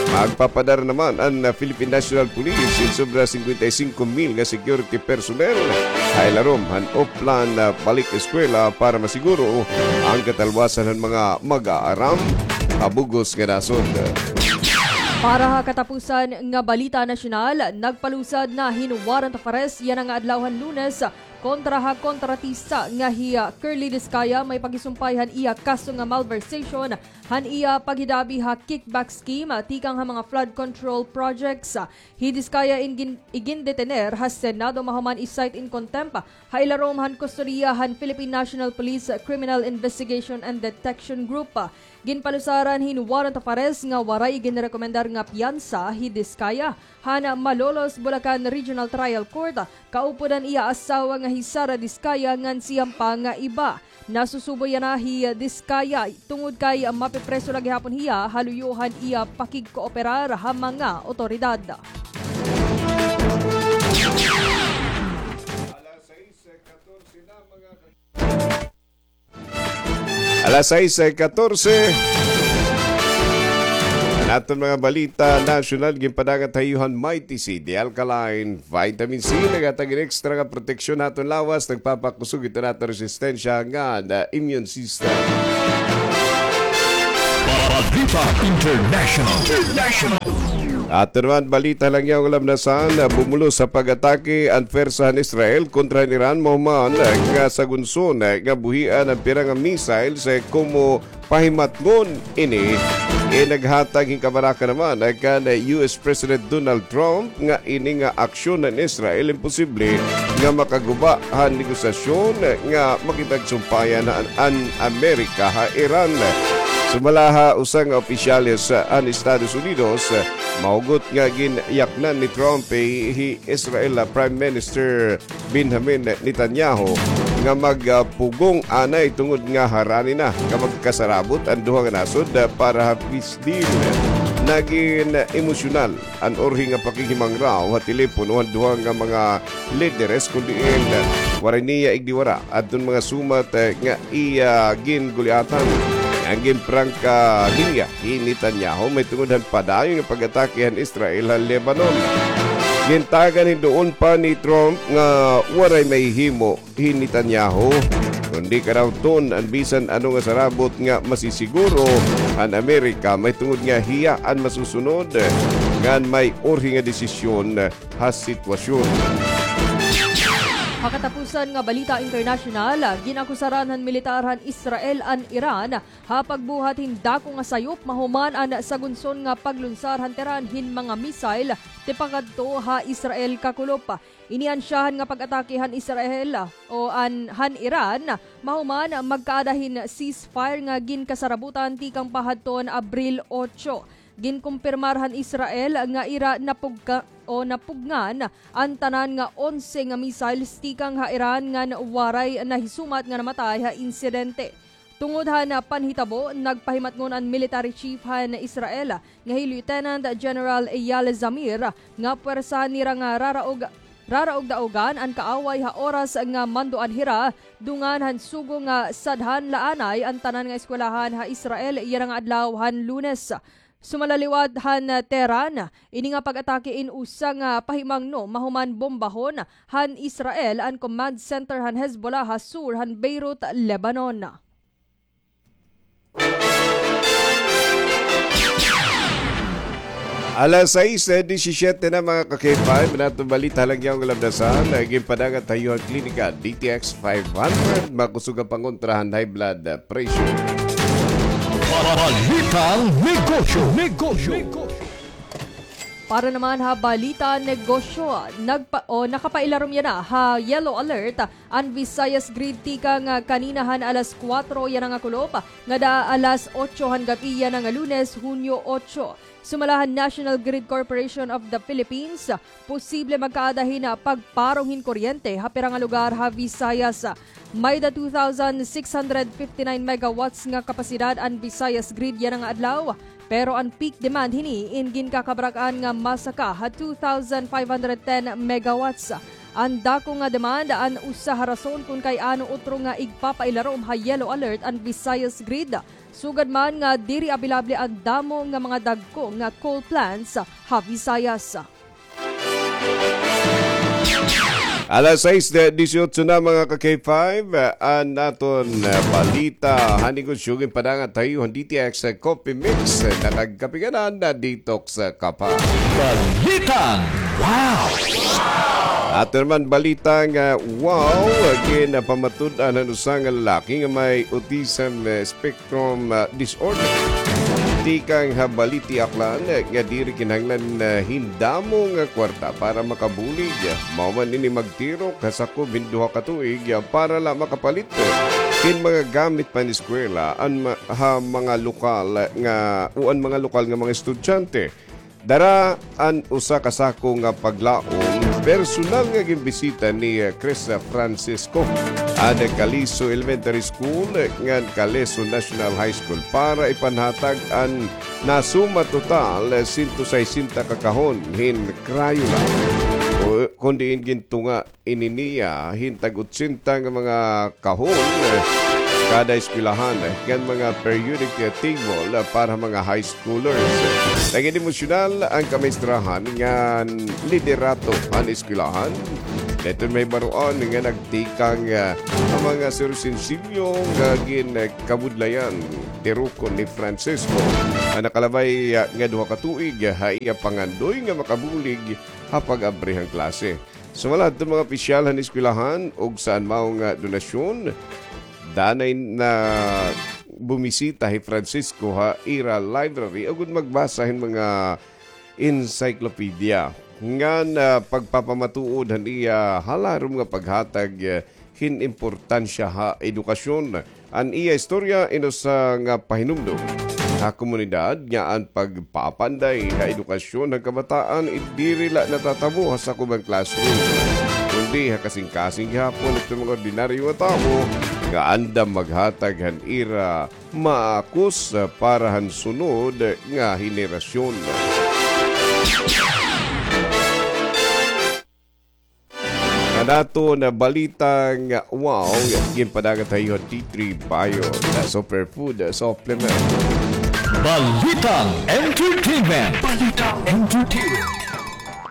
Magpapadara naman an, eh, Philippine National Police hin sobra singkwenta y singko mil nga security personnel ha ilarom han Oplan, eh, Balik Eskwela para masiguro an katalwasan han mga mag-aaram ha bug-os nga nasod. Para ha katapusan nga balita nasyonal, nagpalusad na hin warrant of arrest yana nga adlaw han Lunes kontra ha kontratista nga hi, ah, Curly Discaya, may pagisumpay han iya kaso nga malversation han iya paghidabi ha kickback scheme, ah, tikang ha mga flood control projects. Hi Discaya in gin-, igindetener ha Senado mahuman i-cite in contempt ha ilarom han kustodiya han Philippine National Police Criminal Investigation and Detection Group. Ginpalusaran hin warrant of arrest nga waray ginrekomendar nga piyansa hi Discaya han Malolos, Bulacan Regional Trial Court kaupod an iya asawa nga hi Sara Discaya ngan siyam pa nga iba. Nasusubo yana hi Discaya tungod kay mapipreso la gihapon hiya ha luyo han iya pakigkooperar ha mga otoridad. Alas sais katorse. An aton mga balita nasyonal, ginpadagat ha iyo han Mighty C, the alkaline vitamin C, naghatag hin extra nga proteksyon ha aton lawas, nagpapakusog hito han aton resistensya ngan immune system. Balita International. International. Aton naman balita, Langyaw nga Lamnasan, bumulos ha pag-atake an pwersa han Israel kontra han Iran mahuman nga sagunson nga buhian an pira nga missiles komo pahimatngon ini. Naghatag hin kabaraka naman kan U S President Donald Trump nga ini nga aksyon han Israel imposible nga makaguba han negosasyon nga makipagsumpayan an, an Amerika ha Iran. Sumala ha usa nga opisyales han Estados Unidos, mahugot nga ginyaknan ni Trump hi, hi Israel Prime Minister Benjamin Netanyahu nga magpugong anay tungod nga harani na nga magkasarabot an duha nga nasod para ha peace deal. Nagin emosyonal an urhi nga pakighimangraw ha telepono han duha nga mga lideres, kun diin waray niya igdiwara adton mga sumat nga iya ginguliatan. An ginprangka niya hi Netanyahu mahitungod han padayon nga pag-atake han Israel ha Lebanon. Gintagan hin duon pa ni Trump nga waray mahihimo hi Netanyahu, kundi kadawton an bisan ano nga sarabot nga masisiguro an Amerika mahitungod nga hiya an masusunod ngan may urhi nga desisyon ha sitwasyon. Ha katapusan nga balita internasyonal, gin-akusaran han militar han Israel an Iran ha pagbuhat hin dako nga sayop mahuman an sagunson nga paglunsar han Tehran hin mga missile tipakadto ha Israel kakulop. Ini an syahan nga pag-atake han Israel o an, han Iran mahuman magkaada hin ceasefire nga ginkasarabutan tikang pa hadton Abril otso. Ginkumpirmar han Israel nga ira napugka-, o napugngan an tanan nga onse nga missiles tikang ha Iran ngan waray nahisumat nga namatay ha insidente. Tungod han panhitabo, nagpahimatngon an military chief han Israel nga hi Lieutenant General Eyal Zamir nga pwersahan nira nga raraog, raraog-daogan an kaaway ha oras nga manduan hira dungan han sugo nga sadhan la anay an tanan nga eskwelahan ha Israel yana nga adlaw han Lunes. Sumala liwat han Tehran, ini nga pag-atake in usa nga pahimangno mahuman bombahon han Israel an command center han Hezbollah ha sur han Beirut, Lebanon. Alas sais disisyete na, mga ka-K five, an aton balita ha Langyaw nga Lamnasan, ginpadagat ha iyo han Klinika D T X five hundred, makusog nga pangontra han high blood pressure. Balitang negosyo. Negosyo. Para naman ha balita negosyo, nagpa-, o, nakapailarom yana ha yellow alert an Visayas Grid tikang, ah, kanina han alas kuwatro yana nga kulop ngada alas otso han gab-i yana nga Lunes, Hunyo otso. Sumala han National Grid Corporation of the Philippines, posible magkaada hin pagparong hin kuryente ha pira nga lugar ha Visayas. May-da two thousand six hundred fifty-nine megawatts nga kapasidad an Visayas Grid yana nga adlaw, pero an peak demand hini in ginkakabarak-an nga masaka ha two thousand five hundred ten megawatts. An dako nga demand an usa ha rason kon kay ano utro nga igpapailarom ha yellow alert an Visayas Grid, sugad man nga diri abilable an damo nga mga dagko nga coal plants ha Visayas. Alas sais disiotso na, mga ka-K five, an aton, ah, balita han negosyo ginpadangat ha iyo han D T X Coffee Mix, nakagkape ka na, na-detox ka pa. Balitang wow! Aton naman balita nga wow, ginpamatud-an han usa nga lalaki nga may autism, eh, spectrum from, ah, disorder. Tikang ha Balite, Aklan, nga diri kinahanglan, ah, hin damo nga kwarta para makabulig. Mao man ini magtirok ha sakob hin duha ka tuig, ah, para la makapalit hin mga gamit pa han eskwela an ma-, ha mga lokal nga, o an mga lokal nga mga estudyante. Dara an usa ka sako nga paglaom, personal nga ginbisita ni, eh, Chris Francisco an Caleso Elementary School ngan Caleso National High School para ipanhatag an nasuma total, eh, sento sesenta ka kahon hin Crayola. O, kon diin gintunga ini niya hin tag-otsenta nga mga kahon, eh, kada eskwelahan, eh, ngan mga periodic, eh, table, eh, para mga high schoolers. Nagin emosyonal an kamaestrahan ngan liderato han eskwelahan. Didto may baruan nga nagtikang, eh, an mga serbisyo nga gin, eh, kabudlayan, tirukon ni Francisco. An nakalabay, ah, nga duha ka tuig, ah, ha iya pangandoy nga makabulig ha pag-abri han klase. Sumala hadton mga opisyal han eskwelahan ug saan mao nga donasyon, danay na bumisita hi Francisco ha ira library agod magbasa hin mga encyclopedia ngan, ah, pagpapamatuod han iya halarom nga paghatag, ah, hin importansya ha edukasyon. An iya istorya in usa nga pahinumdom ha komunidad nga an pagpapanday ha edukasyon han kabataan diri la natatabo ha sakob han classroom, kundi ha kasingkasing gihapon hito mga ordinaryo nga tawo nga andam maghatag han ira maakos para han sunod nga henerasyon. An aton balitang wow, ginpadagat ha iyo han D three Bio, the superfood supplement. Balitang entertainment. Balitang entertainment.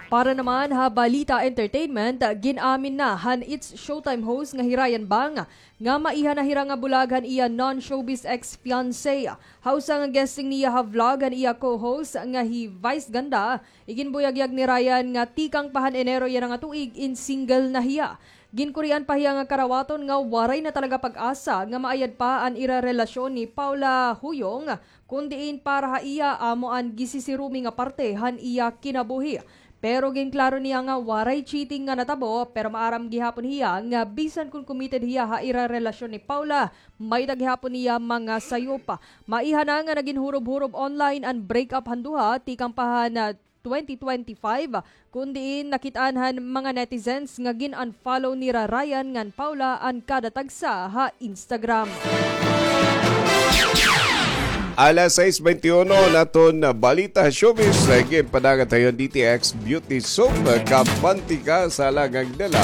Para naman ha balita entertainment, gin-amin na han It's Showtime host nga hi Ryan Bang nga maiha na hira nga bulag han iya non-showbiz ex-fiancé. Ha usa nga guesting niya ha vlog han iya co-host nga hi Vice Ganda, iginbuyagyag ni Ryan nga tikang pa han Enero yana nga tuig in single na hiya. Ginkurian pa hiya nga karawaton nga waray na talaga pag-asa nga maayad pa an ira relasyon ni Paula Huyong, kun diin para ha iya amo an gisisirumi nga parte han iya kinabuhi. Pero ginklaro niya nga waray cheating nga natabo, pero maaram gihapon hiya nga bisan kon committed hiya ha ira relasyon ni Paula, may-ada gihapon niya mga sayop. Maiha na nga nagin hurob-hurob online an break-up han duha tikang pa han, ah, twenty twenty-five, kun diin nakit-an han mga netizens nga gin-unfollow nira Ryan ngan Paula an kada tagsa ha Instagram. Alas sais baynte uno, an aton balita showbiz, eh, ginpadagat ha iyo han D T X Beauty Soap, eh, kabante ka sa alangang dala,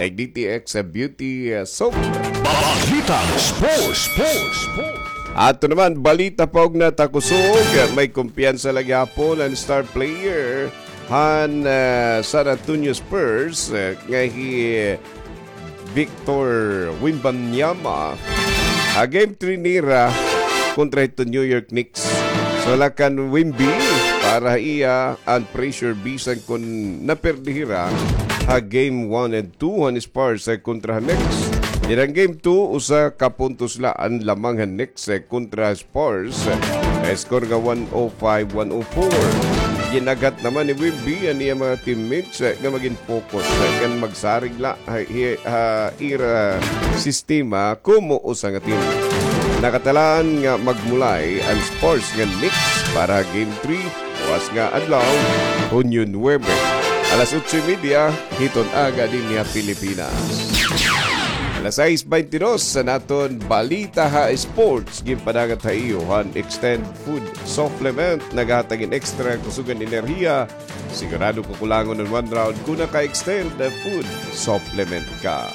eh, D T X Beauty, eh, Soap. Balitang sports, sports, sports. Ato naman, balita pa ugna ta kusog, eh, may kumpiyansa la gihapon an star player han, ah, San Antonio Spurs, ah, nga hi Victor Wembanyama ha game three nira kontra hiton New York Knicks. So, wala kan Wemby para ha iya an pressure bisan kon naperde hira ha game one and two han Spurs, ah, kontra han Knicks. Dinhi han game two, usa ka puntos la an lamang han Knicks, ah, kontra Spurs, eh, score nga one oh five, one oh four. Gin-aghat naman ni Wemby an iya mga teammates, eh, nga magin focus, eh, ngan magsarig la ha, hi-, ha ira sistema komo usa nga team. Nakatalaan nga magmulay an Spurs ngan Knicks para game three, buwas nga adlaw, Hunyo nuebe, alas otso y media hiton aga dinhi ha Pilipinas. Alas sais baynte dos, an aton balita ha sports, ginpadagat ha iyo han Extend Food Supplement, nagahatag hin extra kusog ngan enerhiya. Sigurado kakulangon an one round kon naka-Extend Food Supplement ka.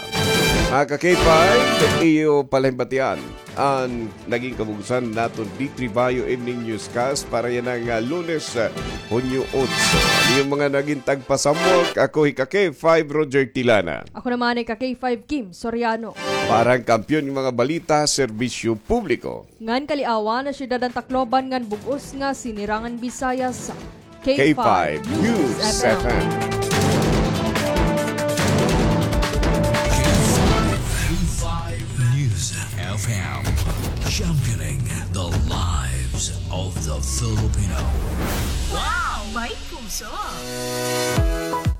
Mga ka-K five, iyo pa la hin batian an nagin kabug-osan han aton D three Bio Evening Newscast para yana nga Lunes, ah, Hunyo otso. An iyo mga nagin tagpasamok, ako hi ka-K five Roger Tilana. Ako naman hi ka-K five Kim Soriano. Para han kampiyon nga mga balita, serbisyo publiko ngan kaliawan ha syudad han Tacloban ngan bug-os nga Sinirangan Visayas, K five News F M. K five News F M, championing the lives of the Filipino. Wow! May puso.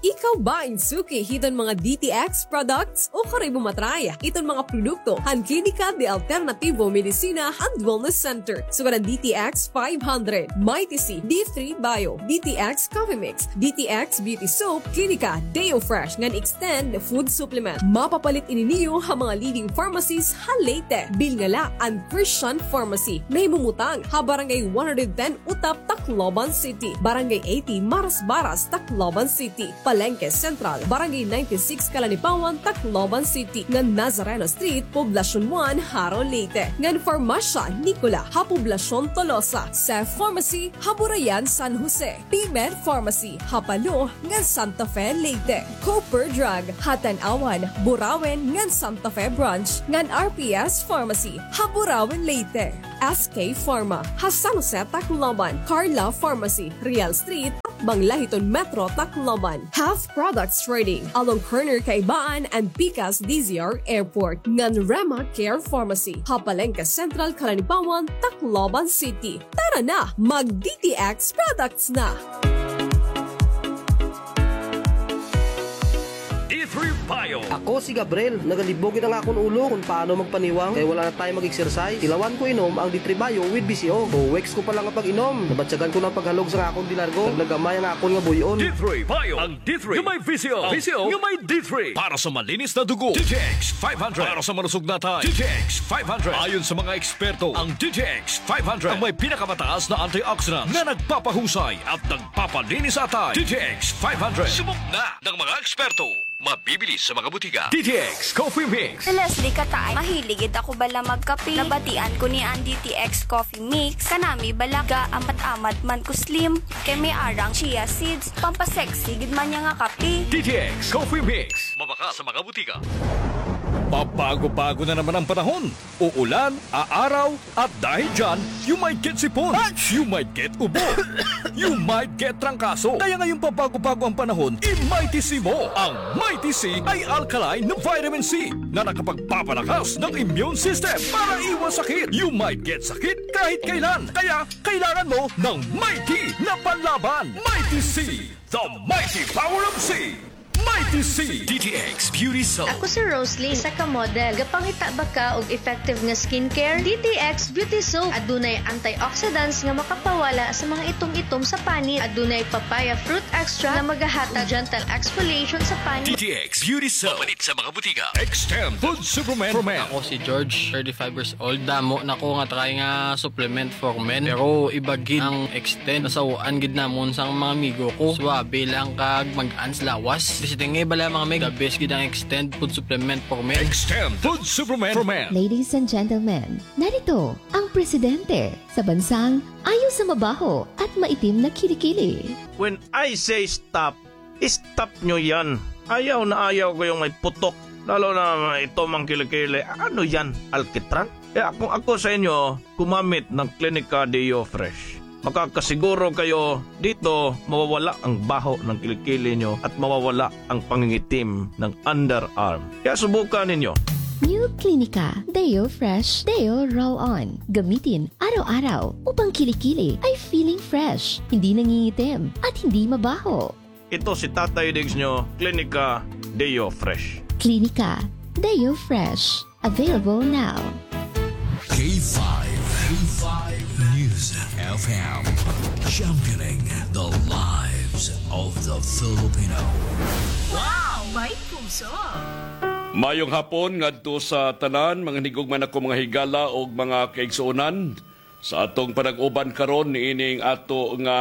Ikaw ba in suki hiton mga D T X products? Ukon imo matry iton mga produkto han Klinika de Alternativo Medicina and Wellness Center. Sugad an D T X five hundred, Mighty C, D three Bio, D T X Coffee Mix, D T X Beauty Soap, Klinika Deo Fresh ngan Extend Food Supplement. Mapapalit ini niyo ha mga leading pharmacies ha Leyte. Bilnga la an Christian Pharmacy. Nahimumutang ha Barangay one hundred ten Utap, Tacloban City, Barangay eighty Marasbaras, Tacloban City, Palengke Central, Barangay ninety-six Calanipawan, Tacloban City, ngan Nazareno Street, Poblacion one, Jaro, Leyte, ngan Farmasya Nicola ha Poblacion Tolosa, Seth Pharmacy ha Burayan, San Jose, P-Med Pharmacy ha Palo ngan Santa Fe, Leyte, Cooper Drug ha Tanauan, Burauen ngan Santa Fe Branch, ngan R P S Pharmacy ha Burauen, Leyte. S K Pharma ha San Jose, Tacloban, Carla Pharmacy, Real Street, atbang la hiton Metro Tacloban. Health Products Trading, along corner Kaibaan and Pikas D Z R Airport, ngan Rema Care Pharmacy ha Palengke Central, Calanipawan, Tacloban City. Tara na, mag D T X products na! D three Bio. Ako si Gabriel. Nagalibog gid an akon ulo kon paano magpaniwang kay wala na tayo mag-exercise. Tilawan ko inom ang D three Bio with V C O. Two weeks ko pa lang nga pag-inom, nabatyagan ko na an paghalog sa akon dilargo. Nagnagamay ang akon nga buy-on. D three Bio. Ang D three nga may V C O. V C O nga may D three. Para sa malinis na dugo, D T X five hundred. Para sa malusog na atay, D T X five hundred. Ayon sa mga eksperto, ang D T X five hundred ang may pinakamataas na antioxidants na nagpapahusay at nagpapalinis sa atay. D T X five hundred. Subok na ng mga eksperto. Mabibili sa mga butika. D T X Coffee Mix. Si Leslie Kataay, mahilig gid ako bala magkape. Nabatian ko niya an D T X Coffee Mix. Kanami bala, gaamat-amat man ko slim. Kay may arang chia seeds. Pampasexy gid man niya nga kape. D T X Coffee Mix. Mabakal sa mga butika. Pabago-bago na naman ang panahon. Uulan, aaraw, at dahil dyan, you might get sipon, you might get ubo, you might get trangkaso. Kaya ngayong pabago-bago ang panahon, i-Mighty C mo. Ang Mighty C ay alkaline na vitamin C na nakapagpapalakas ng immune system para iwas sakit. You might get sakit kahit kailan. Kaya kailangan mo ng Mighty na panlaban. Mighty C, the mighty power of C. Mighty C. D T X Beauty Soap. Ako si Roslyn, isa ka model. Gapangita ba ka og effective nga skincare? D T X Beauty Soap. Adunay antioxidants nga makapawala sa mga itom-itom sa panit. Adunay papaya fruit extract nga magahatag gentle exfoliation sa panit. D T X Beauty Soap. Mapalit sa mga butika. Extend Food Supplement for Men. Ako si George, thirty-five years old. Damo na ko nga try nga supplement for men. Pero iba gid ang Extend. Nasaw-an gid namon sa mga amigo ko. Suabe lang kag mag-an sa lawas. Basta nga bala mga mig, the best gid ang Extend Food Supplement for Men. Extend Food Supplement for Men. Ladies and gentlemen, narito ang presidente sa bansang ayaw sa mabaho at maitim na kilikili. When I say stop, stop nyo yan. Ayaw na ayaw ko yung may putok. Lalo na ito mang kilikili. Ano yan? Alkitran? Kaya kung ako sa inyo, gumamit ng Clinica Deo Fresh. Makakasiguro kayo dito mawawala ang baho ng kilikili nyo at mawawala ang pangingitim ng underarm. Kaya subukan ninyo. New Clinica Deo Fresh Deo Roll-On. Gamitin araw-araw upang kilikili ay feeling fresh, hindi nangingitim, at hindi mabaho. Ito si Tatay Diggs nyo, Clinica Deo Fresh. Clinica Deo Fresh. Available now. K five, K five News F M. Championing the lives of the Filipino. Wow! May puso! Mayong hapon ngadto sa tanan, mga hinigugma nako, mga higala ug mga kaigsuonan. Sa atong panag-uban karon niining ato nga,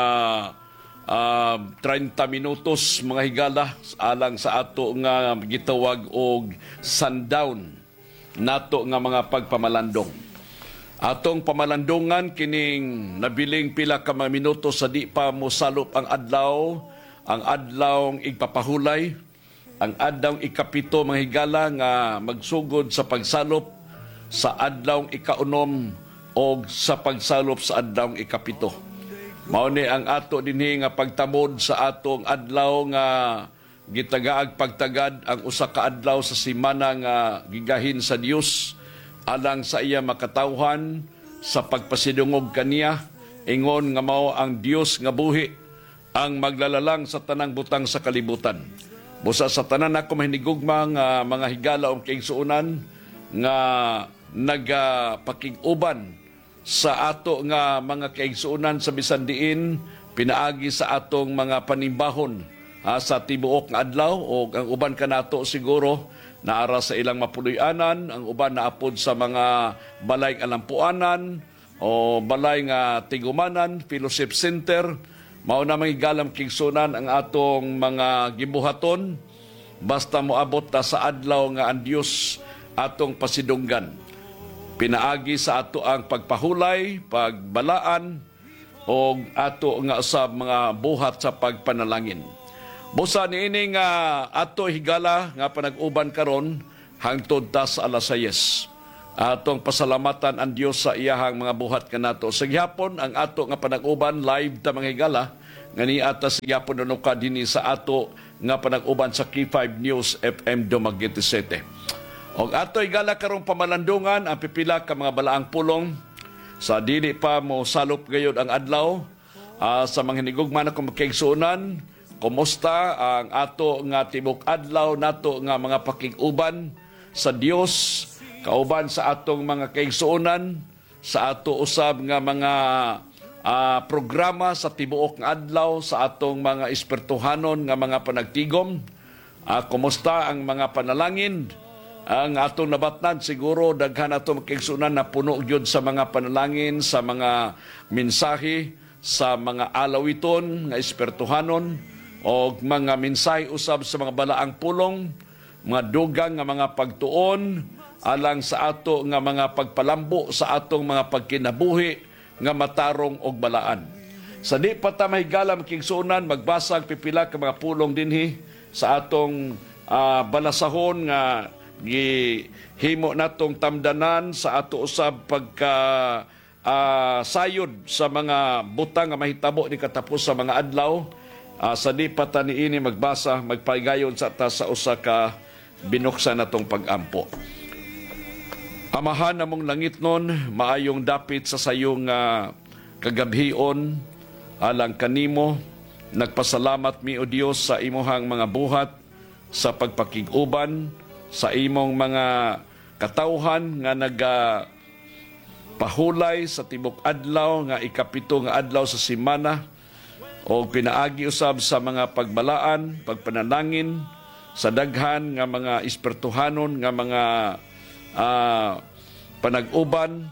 ah, treinta minutos, mga higala, alang sa ato nga gitawag og sundown nato nga mga pagpamalandong. Atong pamalandongan kining nabiling pila ka mga minutos sa di pa mosalop ang adlaw, ang adlawng igpapahulay, ang adlawng ikapito, mga higala, nga magsugod sa pagsalop sa adlawng ikaunom o sa pagsalop sa adlawng ikapito. Mao ni ang ato dinhi nga pagtamod sa atong adlaw nga gitagaag pagtagad ang usa ka adlaw sa semana nga gigahin sa Dios alang sa iya makatawhan sa pagpasidungog kaniya, ingon nga mao ang Dios nga buhi, Ang maglalalang sa tanang butang sa kalibutan. Busa sa tanan ako mahinigugma nga mga higala o kaigsuonan nga nagapakig-uban sa ato nga mga kaigsuonan sa bisan diin, pinaagi sa atong mga panimbahon, ah, sa tibuok nga adlaw, o ang uban kanato siguro naara sa ilang mapuloy-anan, ang uban naapod sa mga balay nga lampuanan, o balay nga tigumanan, fellowship center, mao na mga higala o kaigsuonan ang atong mga gibuhaton, basta moabot ta sa adlaw nga ang Dios atong pasidunggan. Pinaagi sa ato ang pagpahulay, pagbalaan, o ato nga usab mga buhat sa pagpanalangin. Busa niini nga ato higala nga panag-uban karon, hangtod ta sa alas sayis. Atong pasalamatan ang Dios sa iyahang mga buhat kanato. Sa gihapon, ang ato nga panag-uban, live ta mga higala, nga nia ta sa gihapon nanuka dinhi sa ato nga panag-uban sa K five News F M Dumaguete City. Og ato higala karong pamalandungan ang pipila ka mga balaang pulong sa dili pa mosalop gayod ang adlaw. Ah, sa mga hinigugma nakon mga kaigsuonan, kumusta ang ato nga tibuok adlaw nato nga mga pakig-uban sa Dios, kauban sa atong mga kaigsuonan, sa ato usab nga mga, ah, programa sa tibuok nga adlaw, sa atong mga espirituhanon nga mga panagtigom? Ah, kumusta ang mga panalangin? Ang atong nabatnan, siguro daghan ato mga kaigsuonan napuno gyud sa mga panalangin, sa mga mensahe, sa mga alawiton nga espirituhanon, o mga mensahe usab sa mga balaang pulong, mga dugang nga mga pagtuon, alang sa ato nga mga pagpalambo sa atong mga pagkinabuhi nga matarong og balaan. Sa di pa ta mahigala mga kaigsuonan, magbasa og pipila ka mga pulong dinhi sa atong, ah, balasahon nga gihimo natong tamdanan sa ato usab pagka, ah, sayod sa mga butang nga mahitabo ni katapos sa mga adlaw. Ah, sa di pa ta niini magbasa, magpahigayon sa ta sa usa ka binuksan natong pag-ampo. Amahan namong langitnon, maayong dapit sa sayo nga kagabhion alang kanimo. Nagpasalamat mi, O Dios, sa imuhang mga buhat sa pagpakig-uban sa imong mga katawhan nga nagapahulay sa tibok adlaw nga ikapito nga adlaw sa semana, o pinaagi usab sa mga pagbalaan, pagpanalangin sa daghan nga mga espirituhanon nga mga, ah, panag-uban,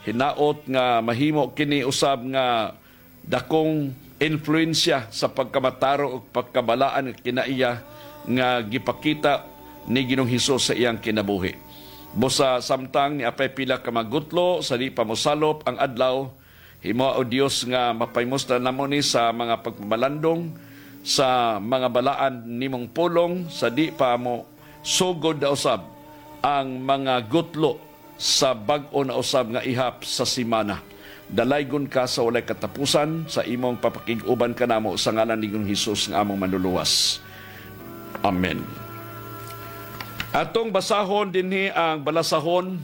hinaot nga mahimo kini usab nga dakong influensya sa pagkamatarong ug pagkabalaan nga kinaiya nga gipakita ni Ginoong Hesus sa iyang kinabuhi. Busa samtang nia pay pila ka mga gutlo sa di pa mosalop ang adlaw, himoa, O Dios, nga mapahimos na namo ni sa mga pagpamalandong sa mga balaan nimong pulong sa di pa mosugod na usab ang mga gutlo sa bag-o na usab nga ihap sa semana. Dalaygon ka sa walay katapusan sa imong papakig-uban kanamo sa ngalan ni Ginoong Hesus nga among Manluluwas. Amen. Atong basahon dinhi ang balasahon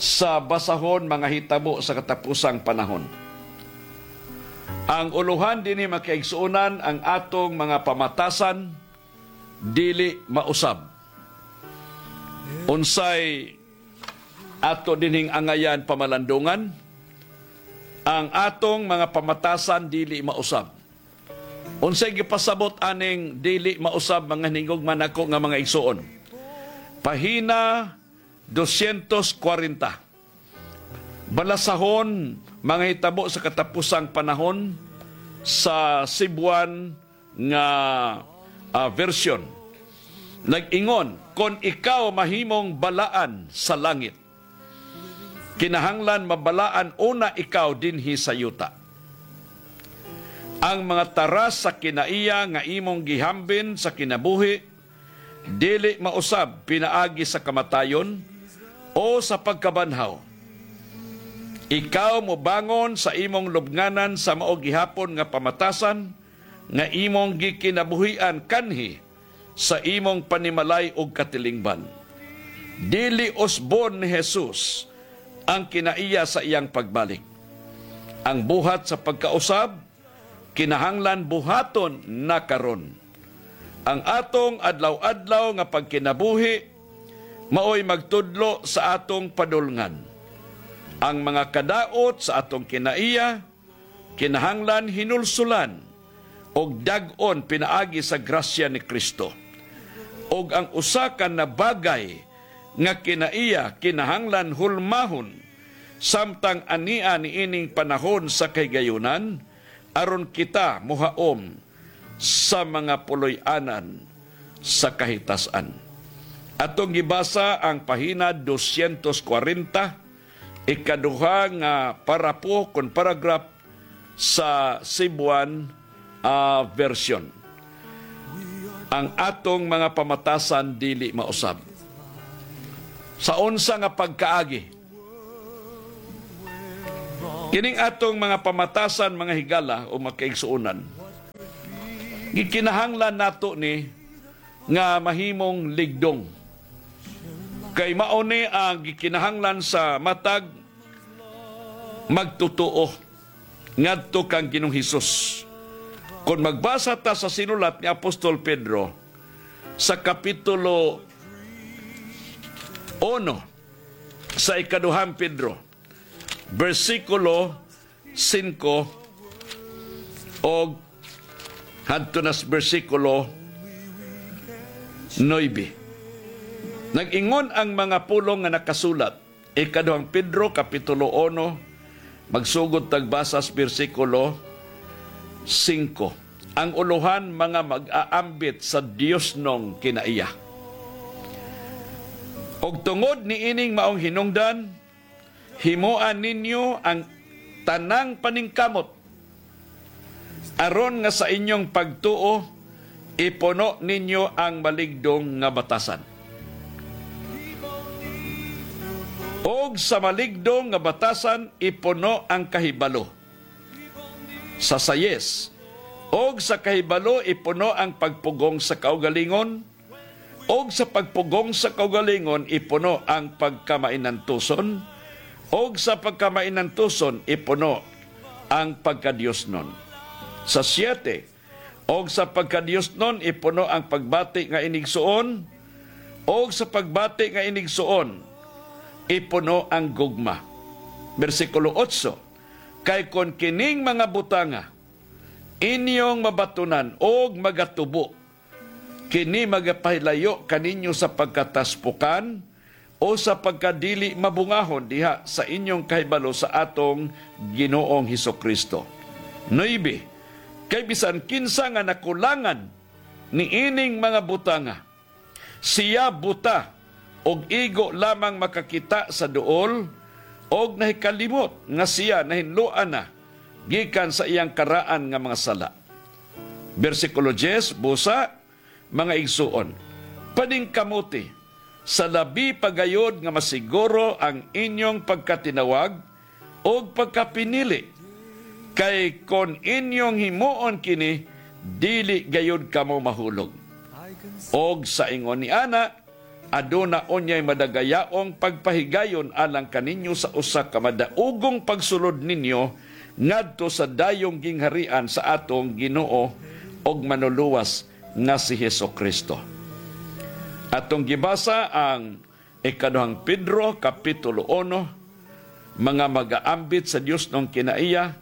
sa basahon, mga hitabo sa katapusang panahon. Ang ulohan dinhi, mga kaigsuonan, ang atong mga pamatasan dili mausab. Unsay ato dinhing angayan pamalandungan? Ang atong mga pamatasan dili mausab. Unsay gipasabot aning dili mausab, mga hinigugma nako nga mga igsuon? Pahina dosyentos kwarenta. Balasahon, mga hitabo sa katapusang panahon sa Cebuan nga, ah, version. Nag-ingon, "Kon ikaw mahimong balaan sa langit, kinahanglan mabalaan una ikaw dinhi sa yuta. Ang mga taras sa kinaiya nga imong gihambin sa kinabuhi, dili mausab pinaagi sa kamatayon o sa pagkabanhaw. Ikaw mobangon sa imong lubnganan sa mao gihapon nga pamatasan nga imong gikinabuhian kanhi sa imong panimalay ug katilingban." Dili usbon ni Jesus ang kinaiya sa iyang pagbalik. Ang buhat sa pagkausab kinahanglan buhaton na karon. Ang atong adlaw-adlaw nga pagkinabuhi maoy magtudlo sa atong padulngan. Ang mga kadaot sa atong kinaiya kinahanglan hinulsulan og dag-on pinaagi sa grasya ni Kristo. Og ang usa ka nabagay nga kinaiya kinahanglan hulmahon samtang ania niining panahon sa kahigayunan, aron kita mohaom sa mga puloy-anan sa kahitas-an. Atong gibasa ang pahina dosyentos kwarenta, ikaduha nga parapo kon paragraph sa Cebuan, ah, version. Ang atong mga pamatasan dili mausab. Sa unsa nga pagkaagi? Kining atong mga pamatasan, mga higala o mga kaigsuonan, gikinahanglan nato ni nga mahimong ligdong. Kay mao ni ang gikinahanglan sa matag magtutuo ngadto kang Ginoong Hesus. Kon magbasa ta sa sinulat ni Apostol Pedro sa kapitulo uno, sa ikaduhang Pedro, bersikulo singko og hadto na sa bersikulo nuebe. Nag-ingon ang mga pulong nga nakasulat, ikaduhang Pedro, kapitulo uno, magsugod ta og basa sa bersikulo singko. Ang ulohan, mga mag-aambit sa diosnon kinaiya. Og tungod niining maong hinungdan, himoa ninyo ang tanang paningkamot, aron nga sa inyong pagtuo, ipuno ninyo ang maligdong nga batasan. Og sa maligdong nga batasan, ipuno ang kahibalo. Sa sayis, og sa kahibalo, ipuno ang pagpugong sa kaugalingon, og sa pagpugong sa kaugalingon ipuno ang pagkamainantuson, og sa pagkamainantuson ipuno ang pagkadiosnon. Sa siyete, og sa pagkadiosnon ipuno ang pagbati nga inigsuon, og sa pagbati nga inigsuon ipuno ang gugma. Bersikulo otso, kay kon kining mga butanga inyong mabatunan og magatubo, kini magapahilayo kaninyo sa pagkataspukan o sa pagkadili mabungahon diha sa inyong kahibalo sa atong Ginoong Hesukristo. Nuebe, kay bisan kinsa nga nakulangan niining mga butanga, siya buta og igo lamang makakita sa duol, og nahikalimot nga siya nahinloan na gikan sa iyang karaan nga mga sala. Bersikulo diyes, busa, mga igsuon, paningkamuti sa labi pa gayod nga masiguro ang inyong pagkatinawag og pagkapinili, kay kon inyong himuon kini, dili gayod kamo mahulog. Og sa ingon niana, aduna unyay madagayaong pagpahigayon alang kaninyo sa usa ka madaugong pagsulod ninyo ngadto sa dayong gingharian sa atong Ginoo og Manluluwas nga si Hesukristo. Atong gibasa ang Ikaduhang Pedro, kapitulo uno, mga mag-aambit sa diosnon kinaiya,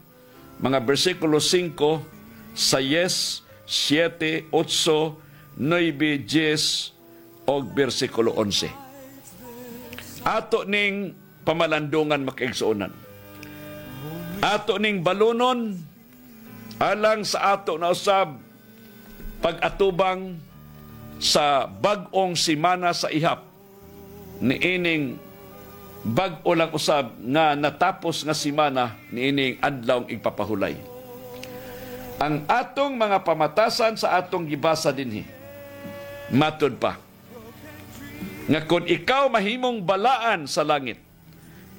mga bersikulo singko, sayes, siyete, otso, nuebe, diyes, og bersikulo onse. Ato ning pamalandungan, mga kaigsuonan. Ato ning balunon, alang sa ato na usab pag-atubang sa bag-ong semana sa ihap niining bag-o lang usab nga natapos nga semana niining adlawng igpapahulay. Ang atong mga pamatasan sa atong gibasa dinhi, matod pa, nga kon ikaw mahimong balaan sa langit,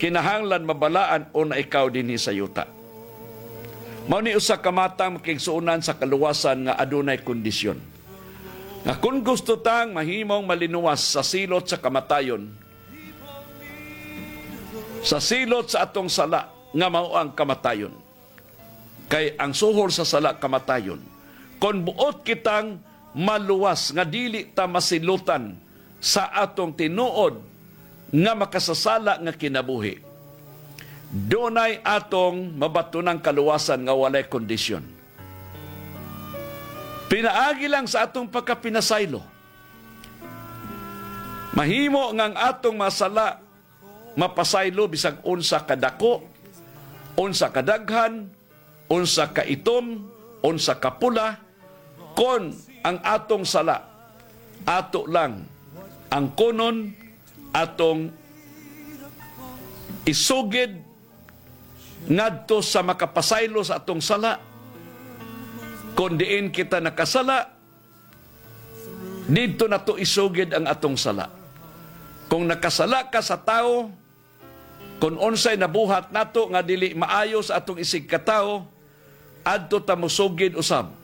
kinahanglan mabalaan una ikaw dinhi sa yuta. Mao ni usa ka matang, mga kaigsuonan, sa kaluwasan nga adunay kondisyon. Nga kon gusto tang mahimong malinluwas sa silot sa kamatayon, sa silot sa atong sala nga mao ang kamatayon, Kay ang suhol sa sala kamatayon. Kon buot kitang maluwas nga dili ta masilotan sa atong tinuod nga makasasala nga kinabuhi, dunay atong mabatunang kaluwasan nga walay kondisyon. Pinaagi lang sa atong pagkapinasaylo. Mahimo nga ang atong mga sala mapasaylo bisag unsa kadako, unsa kadaghan, unsa kaitom, unsa kapula, kon ang atong sala ato lang angkonon, atong isugid ngadto sa makapasaylo sa atong sala. Kon diin kita nakasala, didto nato isugid ang atong sala. Kung nakasala ka sa tawo, kon unsay nabuhat nato nga dili maayo sa atong isigkatawo, adto ta mosugid usab